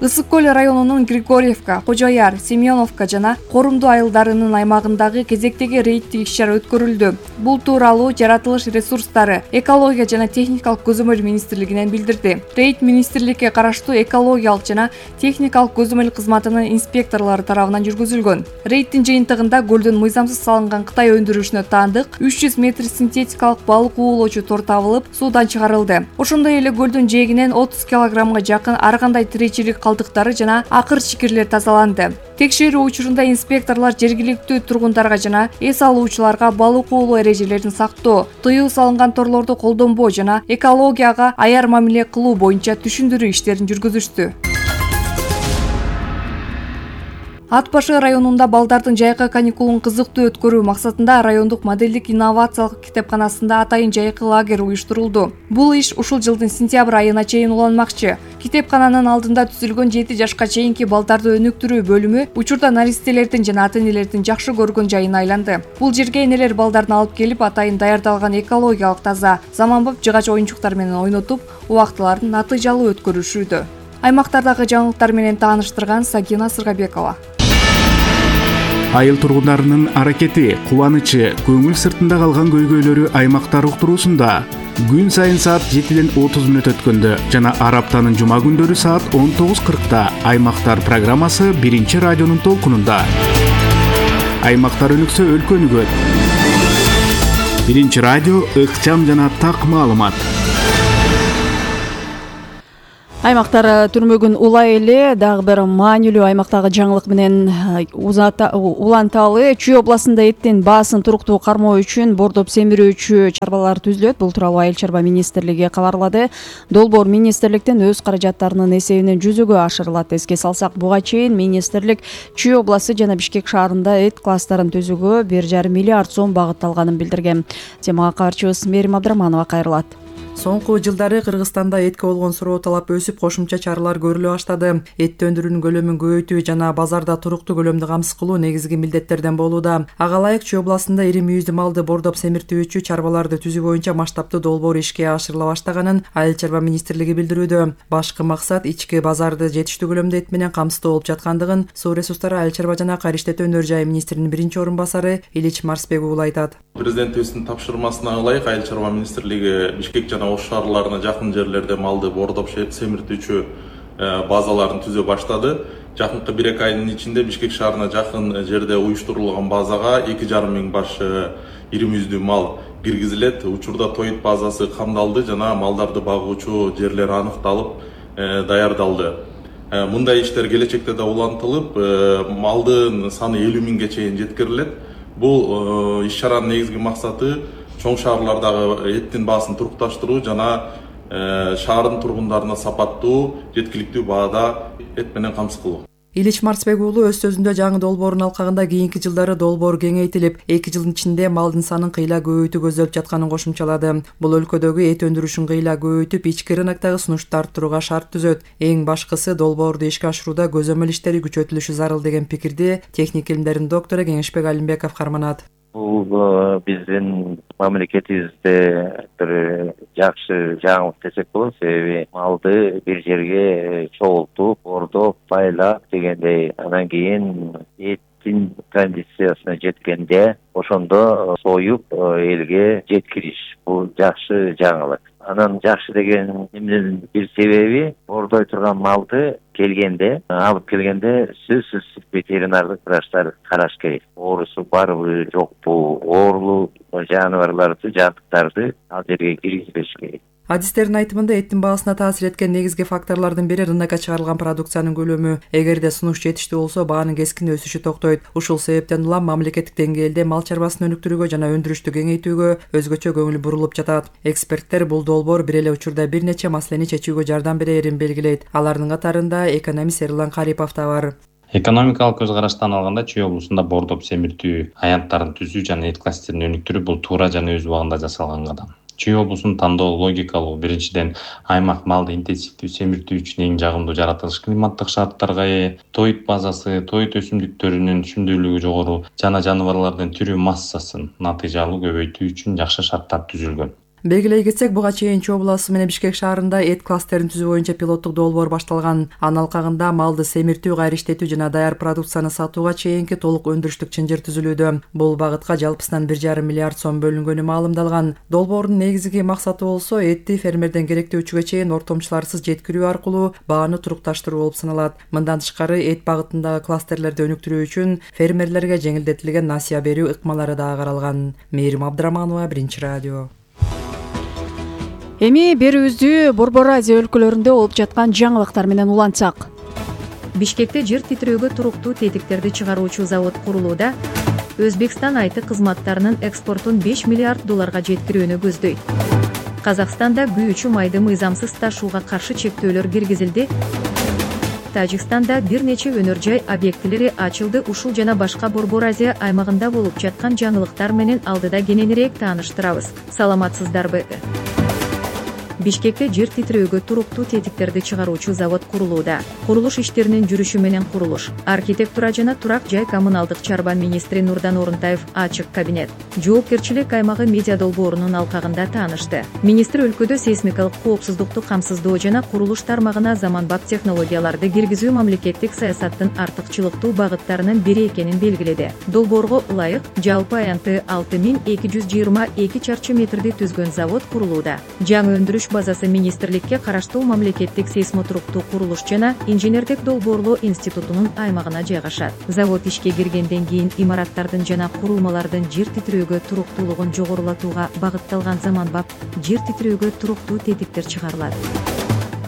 Ысык көл районунун Григорьевка, Кожояр, Семеновка жана Корумду айылдарынын аймагындагы кезектеги рейдтик иш-чара өткөрүлдү. Бул тууралуу Жаратылыш ресурстары, экология жана техникалык көзөмөл министрлигинен билдирди. Рейд министрликке караштуу экологиялык жана техникалык көзөмөл кызматынын инспекторлору тарабынан жүргүзүлгөн. Рейдтин жыйынтыгында көлдөн мыйзамсыз салынган Кытай өндүрүшүнө таандык үч жүз метр синтетикалык балык уулоочу тор табылып, суудан чыгарылды. Ошондой эле көлдүн жээгинен отуз килограммга жакын ар кандай тиречилик калдыктары жана акыр чикирлер тазаланды. Текшерүү учурунда инспекторлор жергиликтүү тургундарга жана эс алуучуларга балык уулоо эрежелерин сактоо, тыюу салынган торлорду колдонбоо жана экологияга аяр мамиле кылуу боюнча түшүндүрүү иштерин жүргүзүштү. Ат башы районунда балдардын жайкы каникулун кызыктуу өткөрүү максатында райондук модельдик инновациялык китепканасында атайын жайкы лагерь уюштурулду. Бул иш ушул жылдын сентябрь айына чейин уланмакчы. Китепкананын алдында түзүлгөн жети жашка чейинки балдарды өнүктүрүү бөлүмү учурда наристелердин жана ата-энелердин жакшы көргөн жайына айланды. Бул жерге энелер балдарын алып келип, атайын даярдалган экологиялык таза, заманбап жыгач оюнчуктар менен ойнотуп, убактыларын натыйжалуу өткөрүшүүдө. Аймактардагы жаңылыктар менен тааныштырган Сагина Сыргабекова. Айыл тургундарынын аракети, кубанычы, көңүл сыртында калган көйгөйлөрү аймактар уктуруусунда күн сайын саат жетиден отуз мүнөт өткөндө жана ар аптанын жума күндөрү саат он тогуз кыркта Аймактар программасы биринчи радионун толкунунда. Аймактар өнүксө өлкө өнүгөт. Биринчи радио ыкчам жана так маалымат. Аймактар түрмөгүн улай эле дагы бир маанилүү аймактагы жаңылык менен уланталы. Чүй областында эттин баасын туруктуу кармоо үчүн бордоп семирүүчү чарбалар түзүлөт. Бул тууралуу Айыл чарба министрлиги кабарлады. Долбоор министрликтен өз каражаттарынын эсебинен жүзөгө ашырылат. Эске салсак, буга чейин министрлик Чүй областы жана Бишкек шаарында эт кластерин түзүүгө бир жарым миллиард сом багытталганын билдирген. Темага кабарчыбыз Мерим Абдраманова кайрылат. Соңку жылдары Кыргызстанда этке болгон суроо талап өсүп, кошумча чаралар көрүлө баштады. Эт өндүрүүнүн көлөмүн көбөйтүү жана базарда туруктуу көлөмдү камсыз кылуу негизги милдеттерден болууда. Ага ылайык Чүй областында ири мүйүздүү малды бордоп семиртүүчү чарбаларды түзүү боюнча масштабтуу долбоор ишке ашырыла баштаганын Айыл чарба министрлиги билдирүүдө. Башкы максат ички базарды жетиштүү көлөмдө эт менен камсыздоо болуп жаткандыгын Суу ресурстары, Айыл чарба жана кайра иштетүү өнөр жайы министринин биринчи орун басары Илич Марсбек уулу айтат. Президентибиздин тапшырмасына ылайык Айыл чарба министрлиги Бишкек жана Ош шаарларына жакын жерлерде малды бордоп семиртүүчү базаларын түзө баштады. Жакынкы бир эки айдын ичинде Бишкек шаарына жакын жерде уюштурулган базага эки жарым миң баш ири мүйүздүү мал киргизилет. Учурда тоит базасы камдалды жана малдарды багуучу жерлер аныкталып даярдалды. Мындай иштер келечекте да улантылып, малдын саны элүү миңге чейин жеткирилет. Бул иш чаранын негизги максаты чоң шаарлардагы эттин баасын турукташтыруу жана шаардын тургундарына сапаттуу, жеткиликтүү баада эт менен камсыз кылуу. Илич Марсбек уулу өз сөзүндө жаңы долбоордун алкагында кийинки жылдары долбоор кеңейтилип, эки жылдын ичинде малдын санын кыйла көбөйтүү көзделип жатканын кошумчалады. Бул өлкөдөгү эт өндүрүшүн кыйла көбөйтүп, ички рыноктогу сунушту арттырууга шарт түзөт. Эң башкысы долбоорду ишке ашырууда көзөмөл иштери күчөтүлүшү зарыл деген пикирди техник илимдердин доктору Кеңешбек Алимбеков карманат. Бул биздин мамлекетибизде бир жакшы жаңылык десек болот, себеби малды бир жерге чогултуп, бордоп, байлап дегендей, анан кийин эттин кондициясына жеткенде ошондо союп элге жеткириш. Бул жакшы жаңылык. Анан жакшы деген эмненин бир себеби, бордой турган малды келгенде, алып келгенде сөзсүз ветеринардык врачтар караш керек. Оорусу барбы, жокпу, оорулуу жаныбарларды, жабдыктарды ал жерге киргизбеш керек. Адистердин айтымында эттин баасына таасир эткен негизги факторлордун бири рынокко чыгарылган продукциянын көлөмү. Эгерде сунуш жетиштүү болсо, баанын кескин өсүшү токтойт. Ушул себептен улам мамлекеттик деңгээлде мал чарбасын өнүктүрүүгө жана өндүрүштү кеңейтүүгө өзгөчө көңүл бурулуп жатат. Эксперттер бул долбоор бир эле учурда бир нече маселени чечүүгө жардам берерин белгилейт. Алардын катарында экономист Эрлан Карипов да бар. Экономикалык көз караштан алганда Чүй облусунда бордоп семиртүү аянттарын түзүү жана эт кластерин өнүктүрүү бул туура жана өз убагында жасалган кадам. Чүй облусунун тандоо логикалуу. Биринчиден, аймак малды интенсивдүү семиртүү үчүн эң жагымдуу жаратылыш климаттык шарттарга ээ, тоит базасы, тоит өсүмдүктөрүнүн түшүмдүүлүгү жогору жана жаныбарлардын түрү массасын натыйжалуу көбөйтүү үчүн жакшы шарттар түзүлгөн. Белгилей кетсек, буга чейин Чүй областы менен Бишкек шаарында эт кластерин түзүү боюнча пилоттук долбоор башталган. Анын алкагында малды семиртүү, кайра иштетүү жана даяр продукцияны сатууга чейинки толук өндүрүштүк чынжыр түзүлүүдө. Бул багытка жалпысынан бир жарым миллиард сом бөлүнгөнү маалымдалган. Долбоордун негизги максаты болсо этти фермерден керектөөчүгө чейин ортомчуларсыз жеткирүү аркылуу бааны турукташтыруу болуп саналат. Мындан тышкары эт багытындагы класстерлерди өнүктүрүү үчүн фермерлерге жеңилдетилген насыя берүү ыкмалары да каралган. Мерим Абдраманова, Биринчи радио. Эми берүүбүздү Борбор Азия өлкөлөрүндө болуп жаткан жаңылыктар менен улантсак. Бишкекте жер титирөөгө туруктуу тетиктерди чыгаруучу завод курулууда. Өзбекстан айты кызматтарынын экспортун беш миллиард долларга жеткирүүнү көздөйт. Казакстанда күйүүчү майды мыйзамсыз ташууга каршы чектөөлөр киргизилди. Тажикстанда бир нече өнөр жай объектилери ачылды. Ушул жана башка Борбор Азия аймагында болуп жаткан жаңылыктар менен алдыда кененирээк тааныштырабыз. Саламатсыздарбы? Бишкекте жер титирөөгө туруктуу тетиктерди чыгаруучу завод курулууда. Курулуш иштеринин жүрүшү менен курулуш, архитектура жана турак жай коммуналдык чарба министри Нурдан Орунтаев ачык кабинет, жоопкерчилик аймагы медиа долбоорунун алкагында таанышты. Министр өлкөдө сейсмикалык коопсуздукту камсыздоо жана курулуш тармагына заманбап технологияларды киргизүү мамлекеттик саясаттын артыкчылыктуу багыттарынын бири экенин белгиледи. Долбоорго ылайык жалпы аянты алты миң эки жүз жыйырма эки чарчы метрди түзгөн завод курулууда. Жаңы өндүрүш базасы министрликке караштуу мамлекеттик сейсмотруктуу курулуш жана инженердик долбоорлоо институтунун аймагына жайгашат. Завод ишке киргенден кийин имараттардын жана курулмалардын жер титирөөгө туруктуулугун жогорулатууга багытталган заманбап жер титирөөгө туруктуу тетиктер чыгарылат.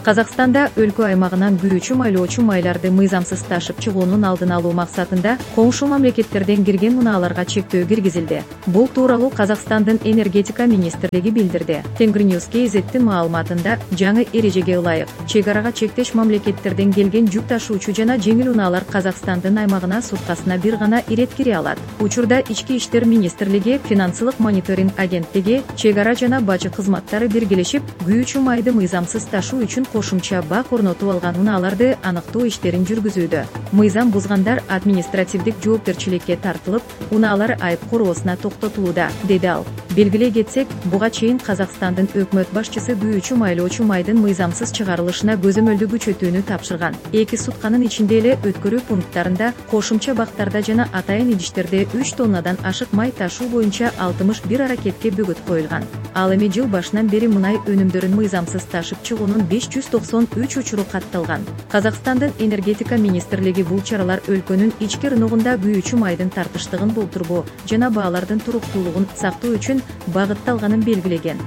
Казакстанда өлкө аймагынан күйүүчү майлоочу майларды мыйзамсыз ташып чыгуунун алдын алуу максатында коңшу мамлекеттерден кирген унааларга чектөө киргизилди. Бул тууралуу Казакстандын энергетика министрлиги билдирди. Тенгриньюз кзеттин маалыматында жаңы эрежеге ылайык чек арага чектеш мамлекеттерден келген жүк ташуучу жана жеңил унаалар Казакстандын аймагына суткасына бир гана ирет кире алат. Учурда Ички иштер министрлиги, финансылык мониторинг агенттиги, чек ара жана бажы кызматтары биргелешип, күйүүчү майды мыйзамсыз ташуу үчүн кошумча бак орнотуп алган унааларды аныктоо иштерин жүргүзүүдө. Мыйзам бузгандар административдик жоопкерчиликке тартылып, унаалар айып короосуна токтотулууда, деди ал. Белгилей кетсек, буга чейин Казакстандын өкмөт башчысы күйүүчү майлоочу майдын мыйзамсыз чыгарылышына көзөмөлдү күчөтүүнү тапшырган. Эки сутканын ичинде эле өткөрүү пункттарында, кошумча бактарда жана атайын идиштерде үч тоннадан ашык май ташуу боюнча алтымыш бир аракетке бөгөт коюлган. Ал эми жыл башынан бери мунай өнүмдөрүн мыйзамсыз ташып чыгуунун беш жүз токсон үч учуру катталган. Казакстандын энергетика министрлиги бул чаралар өлкөнүн ички рыногунда күйүүчү майдын тартыштыгын болтурбоо жана баалардын туруктуулугун сактоо үчүн багытталганын белгилеген.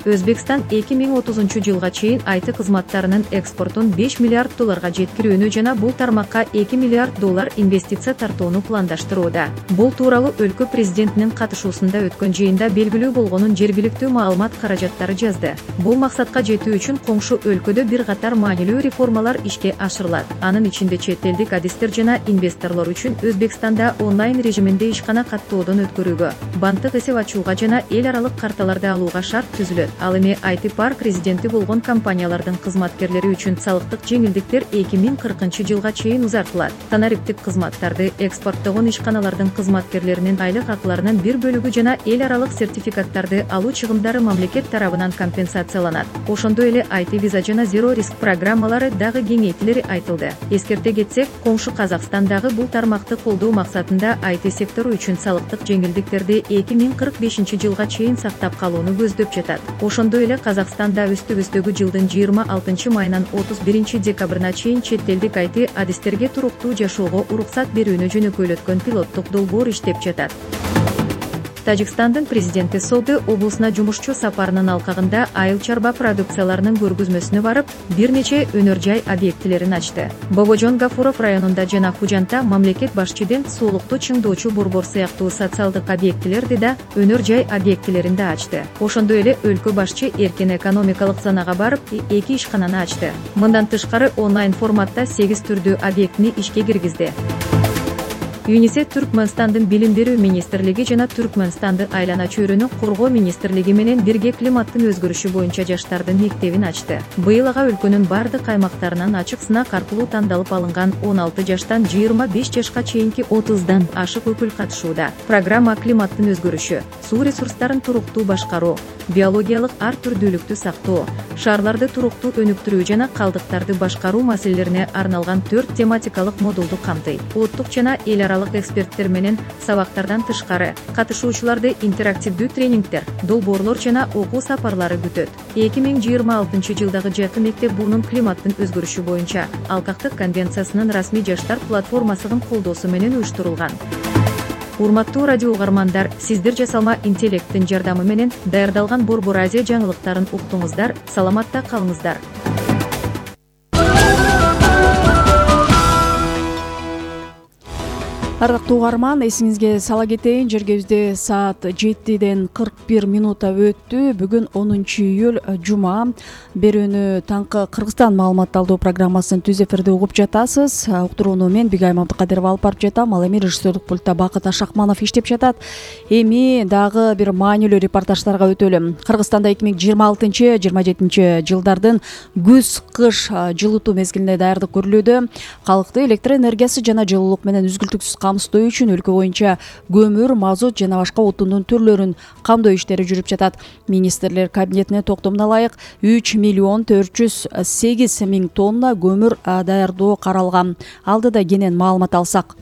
Өзбекстан эки миң отузунчу жылга чейин айты кызматтарынын экспортун беш миллиард долларга жеткирүүнү жана бул тармакка эки миллиард доллар инвестиция тартууну пландаштырууда. Бул тууралуу өлкө президентинин катышуусунда өткөн жыйында белгилүү болгонун жергиликтүү маалымат каражаттары жазды. Бул максатка жетүү үчүн коңшу өлкөдө бир катар маанилүү реформалар ишке ашырылат. Анын ичинде чет элдик адистер жана инвесторлор үчүн Өзбекстанда онлайн режиминде ишкана каттоодон өткөрүүгө, банктык эсеп ачууга жана эл аралык карталарды алууга шарт түзүлөт. Ал эми ай ти парк резиденти болгон компаниялардын кызматкерлери үчүн салыктык жеңилдиктер эки миң кыркынчы жылга чейин узартылат. Танариптик кызматтарды экспорттогон ишканалардын кызматкерлеринин айлык акыларынын бир бөлүгү жана эл аралык сертификаттарды алуу чыгымдары мамлекет тарабынан компенсацияланат. Ошондой эле ай ти виза жана зеро риск программалары дагы кеңейтилери айтылды. Эскерте кетсек, коңшу Казакстан дагы бул тармакты колдоо максатында ай ти сектору үчүн салыктык жеңилдиктерди эки миң кырк бешинчи жылга чейин сактап калууну көздөп жатат. Ошондой эле Казакстанда үстүбүздөгү жылдын жыйырма алтынчы майынан отуз биринчи декабрына чейин чет элдик ай ти адистерге туруктуу жашоого уруксат берүүнү жөнөкөйлөткөн пилоттук долбоор иштеп жатат. Тажикстандын президенти Соды облусуна жумушчу сапарынын алкагында айыл чарба продукцияларынын көргөзмөсүнө барып, бир нече өнөр жай объектилерин ачты. Богожон Гафуров районунда жана Хужанта мамлекет башчыдын суулукту чыңдоочу борбор сыяктуу социалдык объектилерди да өнөр жай объектилерин да ачты. Ошондой эле өлкө башчы эркин экономикалык зонага барып, эки ишкананы ачты. Мындан тышкары онлайн форматта сегиз түрдүү объектини ишке киргизди. ЮНИСЕФ Түркмөнстандын билим берүү министрлиги жана Түркмөнстанды айлана чөйрөнү коргоо министрлиги менен бирге климаттын өзгөрүшү боюнча жаштардын мектебин ачты. Быйыл ага өлкөнүн бардык аймактарынан ачык сынак аркылуу тандалып алынган он алты жаштан жыйырма беш жашка чейинки отуздан ашык өкүл катышууда. Программа климаттын өзгөрүшү, суу ресурстарын туруктуу башкаруу, биологиялык ар түрдүүлүктү сактоо, шаарларды туруктуу өнүктүрүү жана калдыктарды башкаруу маселелерине арналган төрт тематикалык модулду камтыйт. Улуттук жана эл аралык эксперттер менен сабактардан тышкары катышуучуларды интерактивдүү тренингдер, долбоорлор жана окуу сапарлары күтөт. эки миң жыйырма алтынчы жылдагы жаркы мектеп бурнун климаттын өзгөрүшү боюнча Алкактык конвенциясынын расмий жаштар платформасынын колдоосу менен уюштурулган. Урматтуу радио угармандар, сиздер жасалма интеллекттин жардамы менен даярдалган Борбор Азия жаңылыктарын уктуңуздар, саламатта калыңыздар. Ардактуу угарман, эсиңизге сала кетейин, жергебизде саат жетиден кырк бир минута өттү. Бүгүн онунчу июль жума. Берүүнү таңкы Кыргызстан маалымат алуу программасын түз эфирде угуп жатасыз. Уктурууну мен Бигайым Абдыкадырова алып барып жатам. Ал эми режиссерлук пультта Бакыт Ашакманов иштеп жатат. Эми дагы бир маанилүү репортаждарга өтөлү. Кыргызстанда эки миң жыйырма алтынчы жыйырма жетинчи жылдардын күз-кыш жылытуу мезгилине даярдык көрүлүүдө. Калкты электр энергиясы жана жылуулук менен үзгүлтүксүз камсыздоо үчүн өлкө боюнча көмүр, мазут жана башка отундун түрлөрүн камдоо иштери жүрүп жатат. Министрлер кабинетине токтомуна ылайык үч миллион төрт жүз сегиз миң тонна көмүр даярдоо каралган. Алдыда кенен маалымат алсак.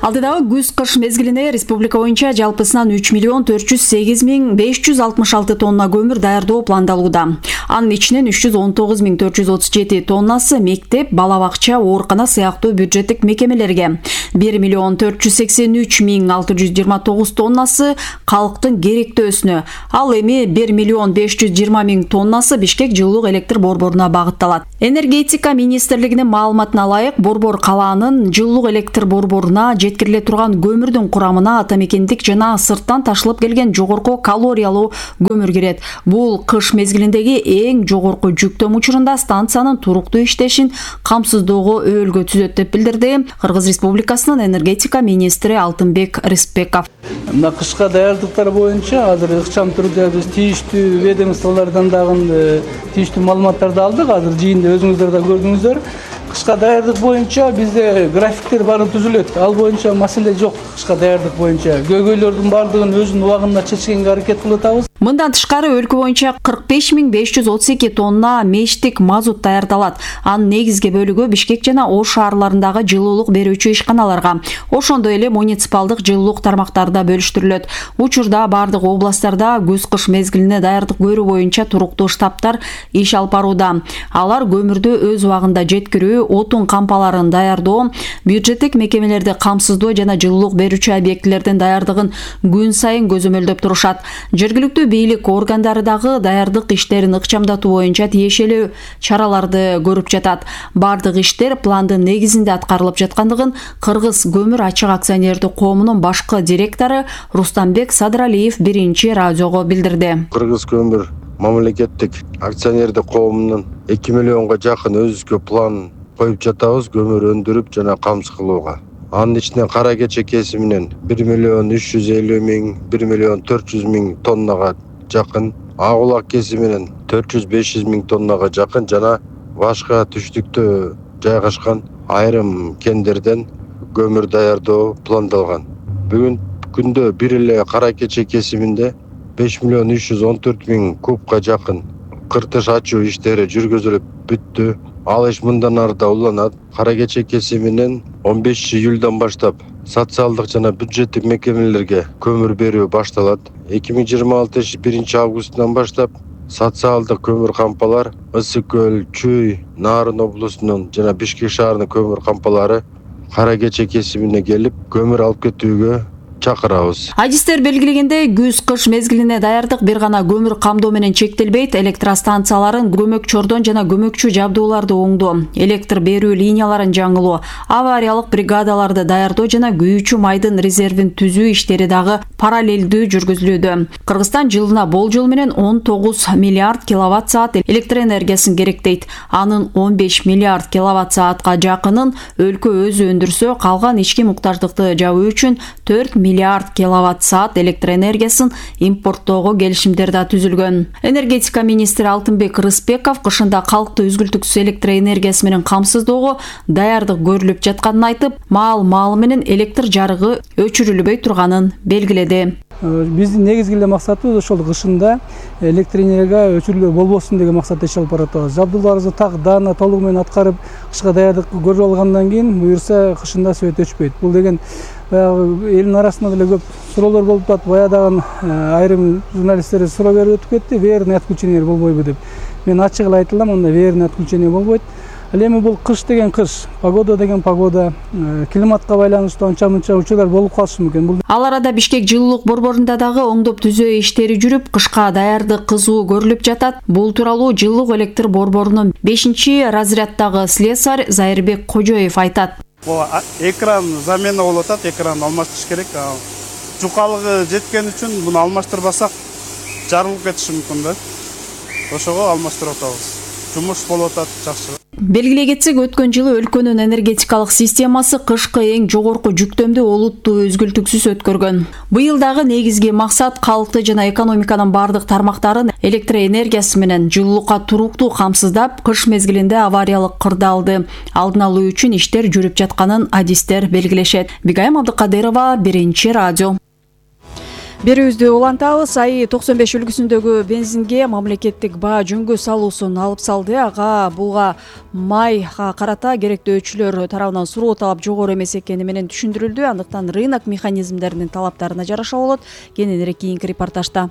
Алдыдагы күз-кыш мезгилине республика боюнча жалпысынан үч миллион төрт жүз сегиз миң беш жүз алтымыш алты тонна көмүр даярдоо пландалууда. Анын ичинен үч жүз он тогуз миң төрт жүз отуз жети тоннасы мектеп, бала бакча, оорукана сыяктуу бюджеттик мекемелерге, бир миллион төрт жүз сексен үч миң алты жүз жыйырма тогуз тоннасы калктын керектөөсүнө, ал эми бир миллион беш жүз жыйырма миң тоннасы Бишкек жылуулук электр борборуна багытталат. Энергетика министрлигинин маалыматына ылайык, борбор калаанын жылуулук электр борборуна жеткириле турган көмүрдүн курамына атамекендик жана сырттан ташылып келген жогорку калориялуу көмүр кирет. Бул кыш мезгилиндеги эң жогорку жүктөм учурунда станциянын туруктуу иштешин камсыздоого өөлгө түзөт деп билдирди Кыргыз Республикасынын энергетика министри Алтынбек Рыспеков. Мына кышка даярдыктар боюнча азыр ыкчам түрдө биз тийиштүү ведомстволордон дагы тийиштүү маалыматтарды алдык. Азыр жыйында өзүңүздөр да көрдүңүздөр. Кышка даярдык боюнча бизде графиктер баары түзүлөт. Ал боюнча маселе жок. Кышка даярдык боюнча көйгөйлөрдүн баардыгын өзүнүн убагында чечкенге аракет кылып атабыз. Мындан тышкары өлкө боюнча кырк беш миң беш жүз отуз эки тонна мештик мазут даярдалат. Анын негизги бөлүгү Бишкек жана Ош шаарларындагы жылуулук берүүчү ишканаларга, ошондой эле муниципалдык жылуулук тармактарда бөлүштүрүлөт. Учурда бардык областтарда күз-кыш мезгилине даярдык көрүү боюнча туруктуу штабтар иш алып барууда. Алар көмүрдү өз убагында жеткирүү, отун кампаларын даярдоо, бюджеттик мекемелерди камсыздоо жана жылуулук берүүчү объектилердин даярдыгын күн сайын көзөмөлдөп турушат. Жергиликтүү бийлик органдары дагы даярдык иштерин ыкчамдатуу боюнча тиешелүү чараларды көрүп жатат. Бардык иштер пландын негизинде аткарылып жаткандыгын Кыргыз көмүр ачык акционердик коомунун башкы директору Рустамбек Садыралиев биринчи радиого билдирди. Кыргыз көмүр мамлекеттик акционердик коомунун эки миллионго жакын өзүбүзгө план коюп жатабыз көмүр өндүрүп жана камсыз кылууга. Анын ичинен кара кече кесиминен бир миллион үч жүз элүү миң, бир миллион төрт жүз миң тоннага жакын, ак улак кесиминен төрт жүз беш жүз миң тоннага жакын жана башка түштүктө жайгашкан айрым кендерден көмүр даярдоо пландалган. Бүгүн күндө бир эле кара кече кесиминде беш миллион үч жүз он төрт миң кубка жакын кыртыш ачуу иштери жүргүзүлүп бүттү. Ал иш мындан ары да уланат. Кара кече кесиминен он бешинчи июлдан баштап социалдык жана бюджеттик мекемелерге көмүр берүү башталат. эки миң жыйырма алтынчы биринчи августтан баштап социалдык көмүр кампалар Ысык көл, Чүй, Нарын облусунун жана Бишкек шаарынын көмүр кампалары кара кече кесимине келип көмүр алып кетүүгө чакырабыз. Адистер белгилегендей, күз-кыш мезгилине даярдык бир гана көмүр камдоо менен чектелбейт. Электростанцияларын көмөкчөрдөн жана көмөкчү жабдууларды оңдоо, электр берүү линияларын жаңылоо, авариялык бригадаларды даярдоо жана күйүүчү майдын резервин түзүү иштери дагы параллелдүү жүргүзүлүүдө. Кыргызстан жылына болжол менен он тогуз миллиард киловатт саат электр энергиясын керектейт. Анын он беш миллиард киловатт саатка жакынын өлкө өзү өндүрсө, калган ички муктаждыкты жабуу үчүн төрт миллиард киловатт саат электр энергиясын импорттоого келишимдер да түзүлгөн. Энергетика министри Алтынбек Рыспеков кышында калкты үзгүлтүксүз электр энергиясы менен камсыздоого даярдык көрүлүп жатканын айтып, маал-маалы менен электр жарыгы өчүрүлбөй турганын белгиледи. Биздин негизги эле максатыбыз ошол кышында электр энергия өчүрүлүү болбосун деген максатта иш алып баратабыз. Жабдууларыбызды так даана толугу менен аткарып, кышка даярдык көрүп алгандан кийин буюрса кышында свет өчпөйт. Бул деген баягы элдин арасында деле көп суроолор болуп атат. Баядагы айрым журналисттер суроо берип өтүп кетти, верный отключение болбойбу деп. Мен ачык эле айта алам, анда верный отключение болбойт. Ал эми бул кыш деген кыш, погода деген погода, климатка байланыштуу анча-мынча учурлар болуп калышы мүмкүн. Ал арада Бишкек жылуулук борборунда дагы оңдоп түзөө иштери жүрүп, кышка даярдык кызуу көрүлүп жатат. Бул тууралуу жылуулук электр борборунун бешинчи разряддагы слесарь Зайырбек Кожоев айтат. Бул экран замена болуп атат, экран алмаштырыш керек. Жукалыгы жеткен үчүн муну алмаштырбасак жарылып кетиши мүмкүн да. Ошого алмаштырып атабыз. Жумуш болуп атат жакшы. Белгилей кетсек, өткөн жылы өлкөнүн энергетикалык системасы кышкы эң жогорку жүктөмдү олуттуу өзгүлтүксүз өткөргөн. Быйыл дагы негизги максат калкты жана экономиканын бардык тармактарын электр энергиясы менен жылуулукка туруктуу камсыздап, кыш мезгилинде авариялык кырдаалды алдын алуу үчүн иштер жүрүп жатканын адистер белгилешет. Бигайым Абдыкадырова, Биринчи радио. Берүүбүздү улантабыз. АИ токсон беш үлгүсүндөгү бензинге мамлекеттик баа жөнгө салуусун алып салды. Ага буга майга карата керектөөчүлөр тарабынан суроо талап жогору эмес экени менен түшүндүрүлдү. Андыктан рынок механизмдеринин талаптарына жараша болот. Кененирээк кийинки репортажда.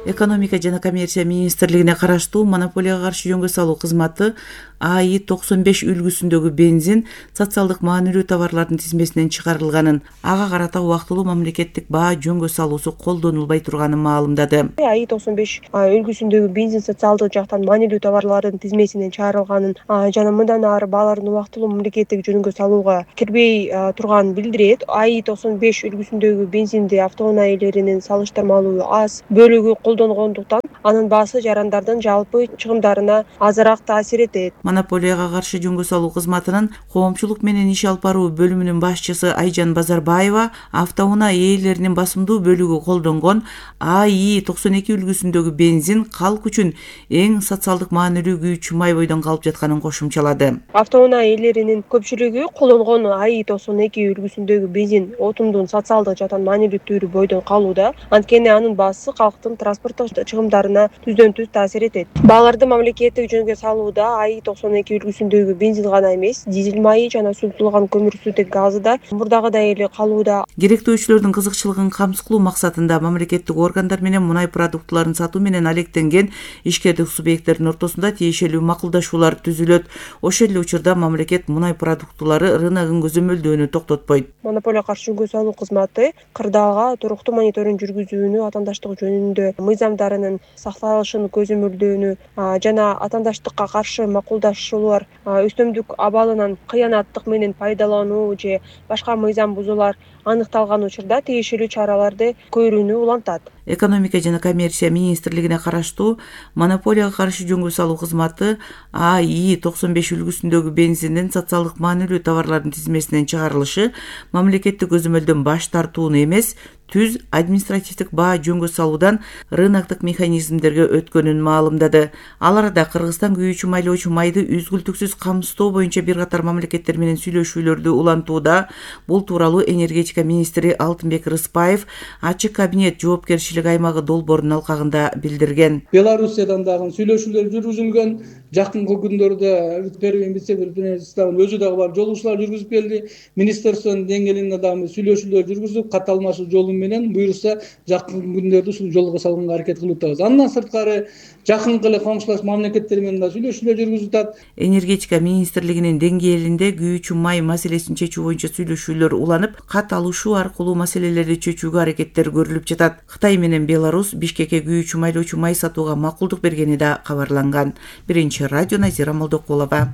Экономика жана коммерция министрлигине караштуу монополияга каршы жөнгө салуу кызматы АИ токсон беш үлгүсүндөгү бензин социалдык маанилүү товарлардын тизмесинен чыгарылганын, ага карата убактылуу мамлекеттик баа жөнгө салуусу колдонулбай турганын маалымдады. АИ токсон беш үлгүсүндөгү бензин социалдык жактан маанилүү товарлардын тизмесинен чыгарылганын жана мындан ары баалардын убактылуу мамлекеттик жөнгө салууга кирбей турганын билдирет. АИ токсон беш үлгүсүндөгү бензинди автоунаа ээлеринин салыштырмалуу аз бөлүгү колдонгондуктан анын баасы жарандардын жалпы чыгымдарына азыраак таасир этет. Монополияга каршы жөнгө салуу кызматынын коомчулук менен иш алып баруу бөлүмүнүн башчысы Айжан Базарбаева автоунаа ээлеринин басымдуу бөлүгү колдонгон АИ токсон эки үлгүсүндөгү бензин калк үчүн эң социалдык маанилүү күйүүчү май бойдон калып жатканын кошумчалады. Автоунаа ээлеринин көпчүлүгү колдонгон АИ токсон эки үлгүсүндөгү бензин отундун социалдык жактан маанилүү түрү бойдон калууда. Анткени анын баасы калктын транспорттук чыгымдарына түздөн түз таасир этет. Бааларды мамлекеттик жөнгө салууда АИ токсон эки үлгүсүндөгү бензин гана эмес, дизель майы жана суутулган көмүрсүтек газы да мурдагыдай эле калууда. Керектөөчүлөрдүн кызыкчылыгын камсыз кылуу максатында мамлекеттик органдар менен мунай продуктларын сатуу менен алектенген ишкердик субъекттердин ортосунда тиешелүү макулдашуулар түзүлөт. Ошол эле учурда мамлекет мунай продуктулары рыногун көзөмөлдөөнү токтотпойт. Монополияга каршы жөнгө салуу кызматы кырдаалга туруктуу мониторинг жүргүзүүнү, атаандаштык жөнүндө мыйзамдарынын сакталышын көзөмөлдөөнү жана атаандаштыкка каршы макулдашуулар, өстөмдүк абалынан кыянаттык менен пайдалануу же башка мыйзам бузуулар аныкталган учурда тиешелүү чараларды көрүүнү улантат. Экономика жана коммерция министрлигине караштуу монополияга каршы жөнгө салуу кызматы АИ токсон беш үлгүсүндөгү бензиндин социалдык маанилүү товарлардын тизмесинен чыгарылышы мамлекеттик көзөмөлдөн баш тартууну эмес, түз административдик баа жөнгө салуудан рыноктук механизмдерге өткөнүн маалымдады. Ал арада Кыргызстан күйүүчү майлоочу майды үзгүлтүксүз камсыздоо боюнча бир катар мамлекеттер менен сүйлөшүүлөрдү улантууда. Бул тууралуу энергетика министри Алтынбек Рыспаев ачык кабинет жоопкерчилик аймагы долбоорунун алкагында билдирген. Белоруссиядан дагы сүйлөшүүлөр жүргүзүлгөн. Жакынкы күндөрдө первый вице-премьер өзү дагы барып жолугушуулар жүргүзүп келди. Министрликтин деңгээлинде дагы сүйлөшүүлөр жүргүзүп, кат алмашуу жолу менен буюрса жакын күндөрдө ушул жолго салганга аракет кылып атабыз. Андан сырткары жакынкы эле коңшулаш мамлекеттер менен да сүйлөшүүлөр жүргүзүп атат. Энергетика министрлигинин деңгээлинде күйүүчү май маселесин чечүү боюнча сүйлөшүүлөр уланып, кат алышуу аркылуу маселелерди чечүүгө аракеттер көрүлүп жатат. Кытай менен Беларусь Бишкекке күйүүчү майлоочу май сатууга макулдук бергени да кабарланган. Биринчи радио Назира Молдокулова.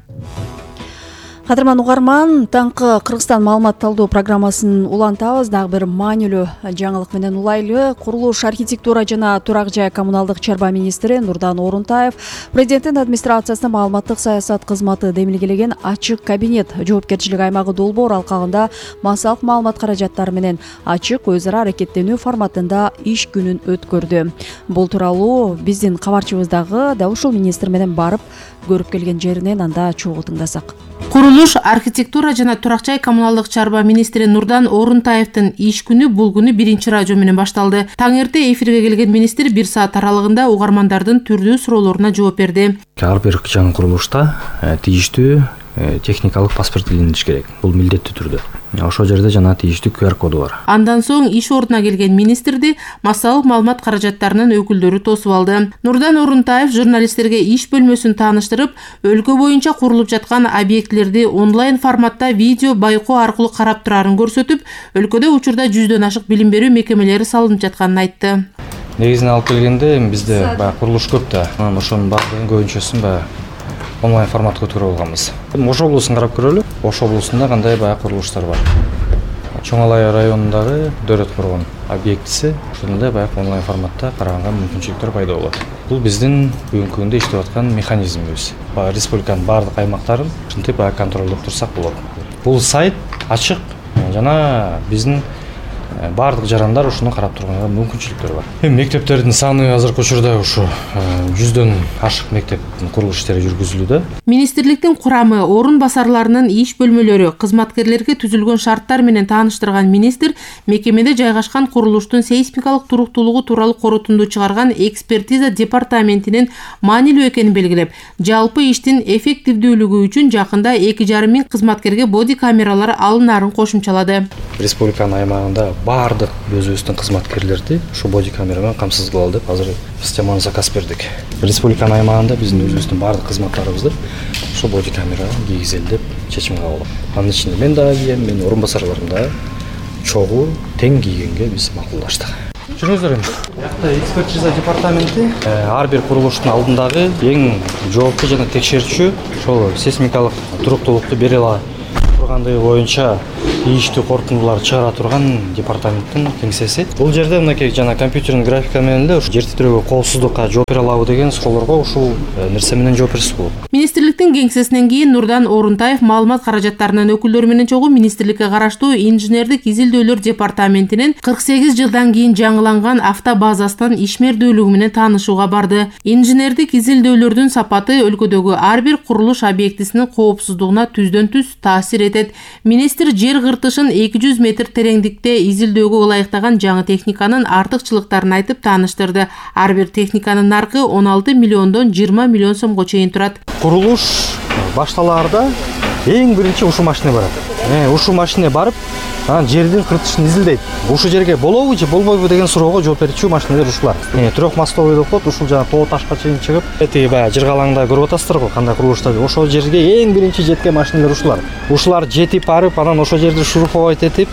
Кадырман угарман, таңкы Кыргызстан маалымат талдоо программасын улантабыз. Дагы бир маанилүү жаңылык менен улайлы. Курулуш, архитектура жана турак жай коммуналдык чарба министри Нурдан Орунтаев президенттин администрациясына маалыматтык саясат кызматы демилгелеген ачык кабинет жоопкерчилик аймагы долбоор алкагында массалык маалымат каражаттары менен ачык өз ара аракеттенүү форматында иш күнүн өткөрдү. Бул тууралуу биздин кабарчыбыздагы да ушул министр менен барып көрүп келген жеринен анда чогуу тыңдасак. Курулуш, архитектура жана турак жай коммуналдык чарба министри Нурдан Орунтаевдин иш күнү бул күнү Биринчи радио менен башталды. Таң эрте эфирге келген министр бир саат аралыгында угармандардын түрдүү суроолоруна жооп берди. Ар бир жаңы курулушта тийиштүү техникалык паспорт илиниш керек. Бул милдеттүү түрдө. Ошол жерде жана тийиштүү ку ар коду бар. Андан соң иш ордуна келген министрди массалык маалымат каражаттарынын өкүлдөрү тосуп алды. Нурдан Орунтаев журналисттерге иш бөлмөсүн тааныштырып, өлкө боюнча курулуп жаткан объектилерди онлайн форматта видео байкоо аркылуу карап турарын көрсөтүп, өлкөдө учурда жүздөн ашык билим берүү мекемелери салынып жатканын айтты. Негизинен алып келгенде бизде баягы курулуш көп да. Анан ошонун баардыгын көбүнчөсүн баягы онлайн форматка көтөрүп алганбыз. Ош облусун карап көрөлү. Ош облусунда кандай баягы курулуштар бар. Чоң Алай районундагы Дөөрөт коргон объектиси ушундай баягы онлайн форматта караганга мүмкүнчүлүктөр пайда болот. Бул биздин бүгүнкү күндө иштеп аткан механизмибиз. Республиканын баардык аймактарын ушинтип баягы контролдоп турсак болот. Бул сайт ачык жана биздин баардык жарандар ушуну карап турганга мүмкүнчүлүктөр бар. Эми мектептердин саны азыркы учурда ушу жүздөн ашык мектептин курулуш иштери жүргүзүлүүдө. Министрликтин курамы, орун басарларынын иш бөлмөлөрү, кызматкерлерге түзүлгөн шарттар менен тааныштырган министр мекемеде жайгашкан курулуштун сейсмикалык туруктуулугу тууралуу корутунду чыгарган экспертиза департаментинин маанилүү экенин белгилеп, жалпы иштин эффективдүүлүгү үчүн жакында эки жарым миң кызматкерге боди камералар алынаарын кошумчалады. Республиканын аймагында баардык өзүбүздүн кызматкерлерди ушу боди камера менен камсыз кылалы деп азыр системаны заказ бердик. Республиканын аймагында биздин өзүбүздүн баардык кызматтарыбызды ушу боди камера кийгизели деп чечим кабыл алдык. Анын ичинде мен дагы кийем, менин орун басарларым да чогуу тең кийгенге биз макулдаштык. Жүрүңүздөр эми. Биякта экспертиза департаменти ар бир курулуштун алдындагы эң жооптуу жана текшерүүчү ошол сейсмикалык туруктуулукту бере ала тургандыгы боюнча ийиштүү корутундуларды чыгара турган департаменттин кеңсеси. Бул жерде мынакей жана компьютердин графика менен эле жер титирөөгө коопсуздукка жооп бере алабы деген суроолорго ушул нерсе менен жооп берсе болот. Министрликтин кеңсесинен кийин Нурдан Орунтаев маалымат каражаттарынын өкүлдөрү менен чогуу министрликке караштуу инженердик изилдөөлөр департаментинин кырк сегиз жылдан кийин жаңыланган автобазасынын ишмердүүлүгү менен таанышууга барды. Инженердик изилдөөлөрдүн сапаты өлкөдөгү ар бир курулуш объектисинин коопсуздугуна түздөн түз таасир этет. Министр жер кыртышын эки жүз метр тереңдикте изилдөөгө ылайыктаган жаңы техниканын артыкчылыктарын айтып тааныштырды. Ар бир техниканын наркы он алты миллиондон жыйырма миллион сомго чейин турат. Курулуш башталаарда эң биринчи ушул машина барат. Э, ушул машина барып, анан жердин кыртышын изилдейт. Ушул жерге болобу же болбойбу деген суроого жооп берүүчү машиналар ушулар. Э, трехмостовый деп коет, ушул жана тоо ташка чейин чыгып, эти баягы жыргалаңда көрүп атасыздар го, кандай курулуштар. Ошол жерге эң биринчи жеткен машиналар ушулар. Ушулар жетип барып, анан ошол жерди шуруповать этип,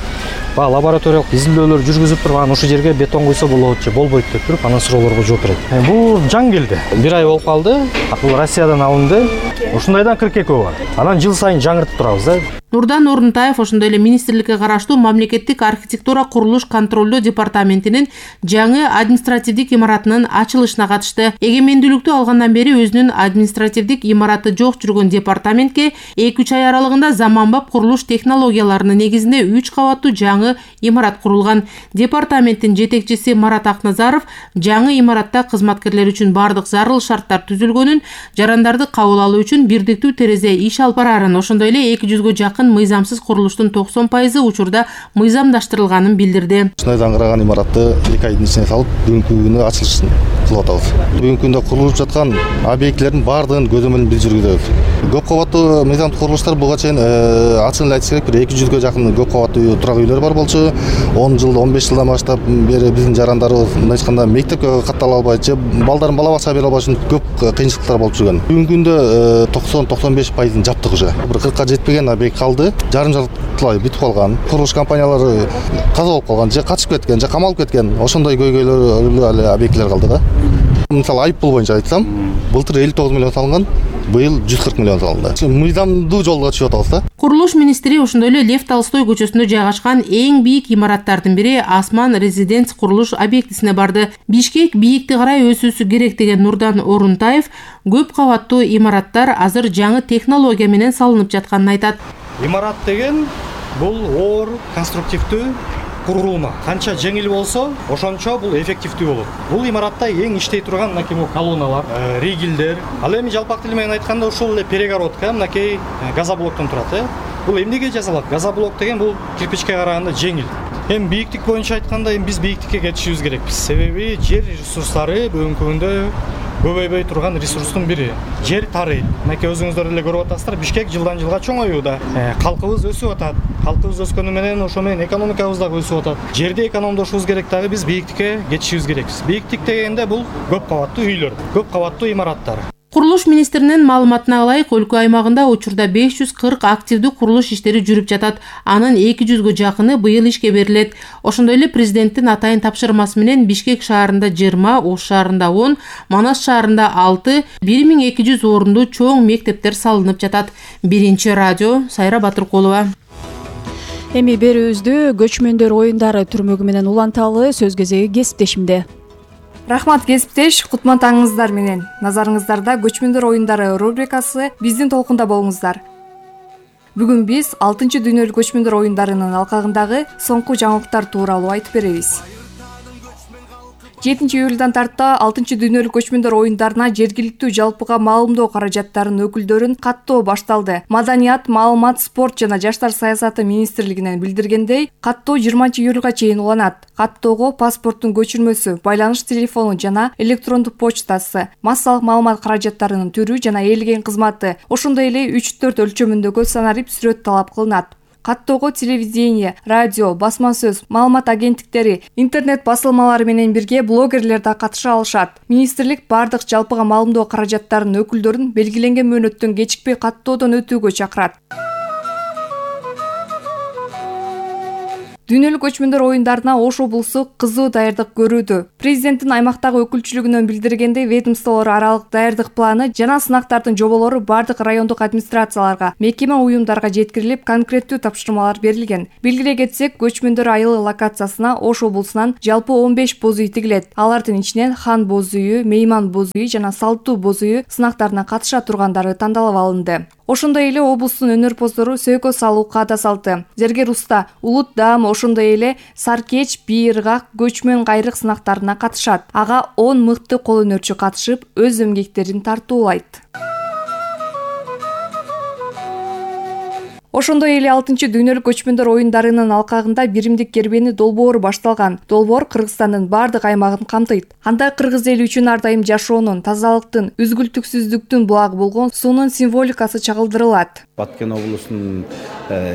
ба лабораториялык изилдөөлөр жүргүзүп туруп, анан ушул жерге бетон куйса болот же болбойт деп туруп, анан суроолорго жооп берет. Э, бул жаңы келди. Бир ай болуп калды. Бул Россиядан алынды. Ушундайдан кырк эки бар. Анан жыл сайын жаңыртып турабыз да. Нурдан Орунтаев ошондой эле министрликке караштуу мамлекеттик архитектура курулуш контролдоо департаментинин жаңы административдик имаратынын ачылышына катышты. Эгемендүүлүктү алгандан бери өзүнүн административдик имараты жок жүргөн департаментке эки үч ай аралыгында заманбап курулуш технологияларынын негизинде үч кабаттуу жаңы имарат курулган. Департаменттин жетекчиси Марат Акназаров жаңы имаратта кызматкерлер үчүн бардык зарыл шарттар түзүлгөнүн, жарандарды кабыл алуу үчүн бирдиктүү терезе иш алып барарын, ошондой эле эки жүзгө жакын мыйзамсыз курулуштун токсон пайызы учурда мыйзамдаштырылганын билдирди. Ушундай аңгыраган имаратты эки айдын ичине салып, бүгүнкү күнү ачылышын кылып атабыз. Бүгүнкү күндө курулуп жаткан объектилердин баардыгын көзөмөлүн билдирүүдөбүз. Көп кабаттуу мыйзамдык курулуштар буга чейин ачыгын эле айтыш керек, бир эки жүзгө жакын көп кабаттуу турак үйлөр бар болчу. он жыл, он беш жылдан баштап бери биздин жарандарыбыз мындай айтканда мектепке каттала албай же балдарын бала бакчага бере албай үчүн көп кыйынчылыктар болуп жүргөн. Бүгүнкү күндө токсон токсон беш пайызын жаптык уже. Бир кыркка жетпеген объект калды. Жарым жартылай бүтүп калган. Курулуш компаниялары каза болуп калган, же качып кеткен, же камалып кеткен. Ошондой көйгөйлөр эле объектилер калды да. Мисалы айыппул боюнча айтсам, былтыр элүү тогуз миллион салынган, быйыл жүз кырк миллион салынды. Мыйзамдуу жолго чыгып атабыз да. Курулуш министри ошондой эле Лев Толстой көчөсүндө жайгашкан эң бийик имараттардын бири Асман резиденс курулуш объектисине барды. Бишкек бийикти карай өсүүсү керек деген Нурдан Орунтаев көп кабаттуу имараттар азыр жаңы технология менен салынып жатканын айтат. Имарат деген бул оор, конструктивдүү курулма. Канча жеңил болсо, ошончо бул эффективдүү болот. Бул имаратта эң иштей турган мынакей колонналар, ригелдер. Ал эми жалпак тил менен айтканда ушул эле перегородка, мынакей газоблоктон турат, э. Бул эмнеге жасалат? Газоблок деген бул кирпичке караганда жеңил. Эми бийиктик боюнча айтканда, эми биз бийиктикке кетишибиз керекпиз. Себеби жер ресурстары бүгүнкү күндө көбөйбөй турган ресурстун бири. Жер тарыйт. Мынакей өзүңүздөр эле көрүп атасыздар, Бишкек жылдан жылга чоңоюуда. Калкыбыз өсүп атат. Калкыбыз өскөнү менен ошо менен экономикабыз дагы өсүп атат. Жерди экономдошубуз керек дагы, биз бийиктикке кетишибиз керекпиз. Бийиктик дегенде бул көп кабаттуу үйлөр, көп кабаттуу имараттар. Курулуш министринин маалыматына ылайык, өлкө аймагында учурда беш жүз кырк активдүү курулуш иштери жүрүп жатат. Анын эки жүзгө жакыны быйыл ишке берилет. Ошондой эле президенттин атайын тапшырмасы менен Бишкек шаарында жыйырма, Ош шаарында он, Манас шаарында алты, бир миң эки жүз орунду чоң мектептер салынып жатат. Биринчи радио, Сайра Батыркулова. Эми берүүбүздү көчмөндөр оюндары түрмөгү менен уланталы. Сөз кезеги кесиптешимде. Рахмат кесиптеш, кутман таңыңыздар менен. Назарыңыздарда көчмөндөр оюндары рубрикасы, биздин толкунда болуңуздар. Бүгүн биз алтынчы дүйнөлүк көчмөндөр оюндарынын алкагындагы соңку жаңылыктар тууралуу айтып беребиз. жетинчи июлдан тарта алтынчы дүйнөлүк көчмөндөр оюндарына жергиликтүү жалпыга маалымдоо каражаттарынын өкүлдөрүн каттоо башталды. Маданият, маалымат, спорт жана жаштар саясаты министрлигинен билдиргендей, каттоо жыйырманчы июлга чейин уланат. Каттоого паспорттун көчүрмөсү, байланыш телефону жана электрондук почтасы, массалык маалымат каражаттарынын түрү жана ээлеген кызматы, ошондой эле үч төрт өлчөмүндөгү санарип сүрөт талап кылынат. Каттоого телевидение, радио, басма сөз, маалымат агенттиктери, интернет басылмалары менен бирге блогерлер да катыша алышат. Министрлик бардык жалпыга маалымдоо каражаттарынын өкүлдөрүн белгиленген мөөнөттөн кечикпей каттоодон өтүүгө чакырат. Дүйнөлүк көчмөндөр оюндарына Ош облусу кызуу даярдык көрүүдө. Президенттин аймактагы өкүлчүлүгүнөн билдиргендей, ведомстволор аралык даярдык планы жана сынактардын жоболору бардык райондук администрацияларга, мекеме уюмдарга жеткирилип, конкреттүү тапшырмалар берилген. Белгилей кетсек, көчмөндөр айылы локациясына Ош облусунан жалпы он беш боз үй тигилет. Алардын ичинен хан боз үйү, мейман боз үйү жана салттуу боз үйү сынактарына катыша тургандары тандалып алынды. Ошондой эле облустун өнөрпоздору сөйкө салуу каада салты, зергер уста, улут даам, ошондой эле саркеч, бийыргак, көчмөн кайрык сынактарына катышат. Ага он мыкты кол өнөрчү катышып, өз эмгектерин тартуулайт. Ошондой эле алтынчы дүйнөлүк көчмөндөр оюндарынын алкагында биримдик кербени долбоору башталган. Долбоор Кыргызстандын бардык аймагын камтыйт. Анда кыргыз эли үчүн ар дайым жашоонун, тазалыктын, үзгүлтүксүздүктүн булагы болгон суунун символикасы чагылдырылат. Баткен облусунун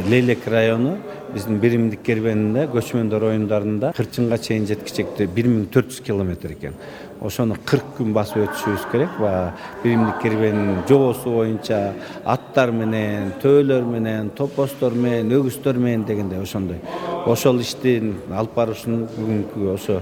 Лейлек району биздин биримдик кербенинде көчмөндөр оюндарында кырчынга чейин жеткичекти бир миң төрт жүз километр экен. Ошону кырк күн басып өтүшүбүз керек. Биримдик кербенин жобосу боюнча аттар менен, төөлөр менен, топостор менен, өгүздөр менен дегенде ошондой. Ошол иштин алып барышын бүгүнкү ошо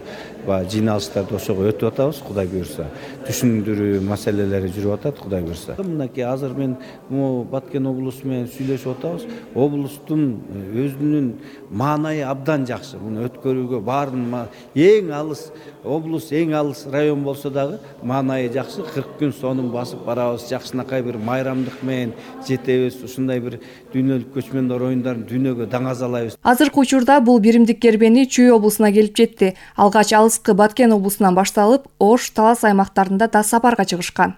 жыйналыштарды ошого өтүп атабыз, Кудай буйрса. Түшүндүрүү маселелери жүрүп атат, Кудай буйрса. Мынакей азыр мен Баткен облусу менен сүйлөшүп атабыз. Облустун өзүнүн маанайы абдан жакшы. Муну өткөрүүгө баарын эң алыс облус, эң алыс район болсо дагы маанайы жакшы. кырк күн сонун басып барабыз. Жакшынакай бир майрамдык менен жетебиз. Ушундай бир дүйнөлүк көчмөндөр оюндарын дүйнөгө даңазалайбыз. Азыркы учурда бул биримдик кербени Чүй облусуна келип жетти. Алгач алыскы Баткен облусунан башталып, Ош, Талас аймактарында да сапарга чыгышкан.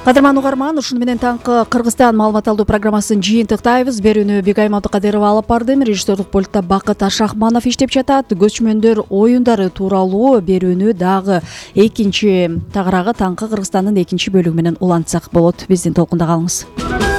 Кадырман угарман, ушуну менен таңкы Кыргызстан маалымат алуу программасын жыйынтыктайбыз. Берүүнү Бегайым Абдыкадырова алып бардым. Режиссердик пультта Бакыт Ашахманов иштеп жатат. Көчмөндөр оюндары тууралуу берүүнү дагы экинчи тагыраагы таңкы Кыргызстандын экинчи бөлүгү менен улантсак болот. Биздин толкунда калыңыз.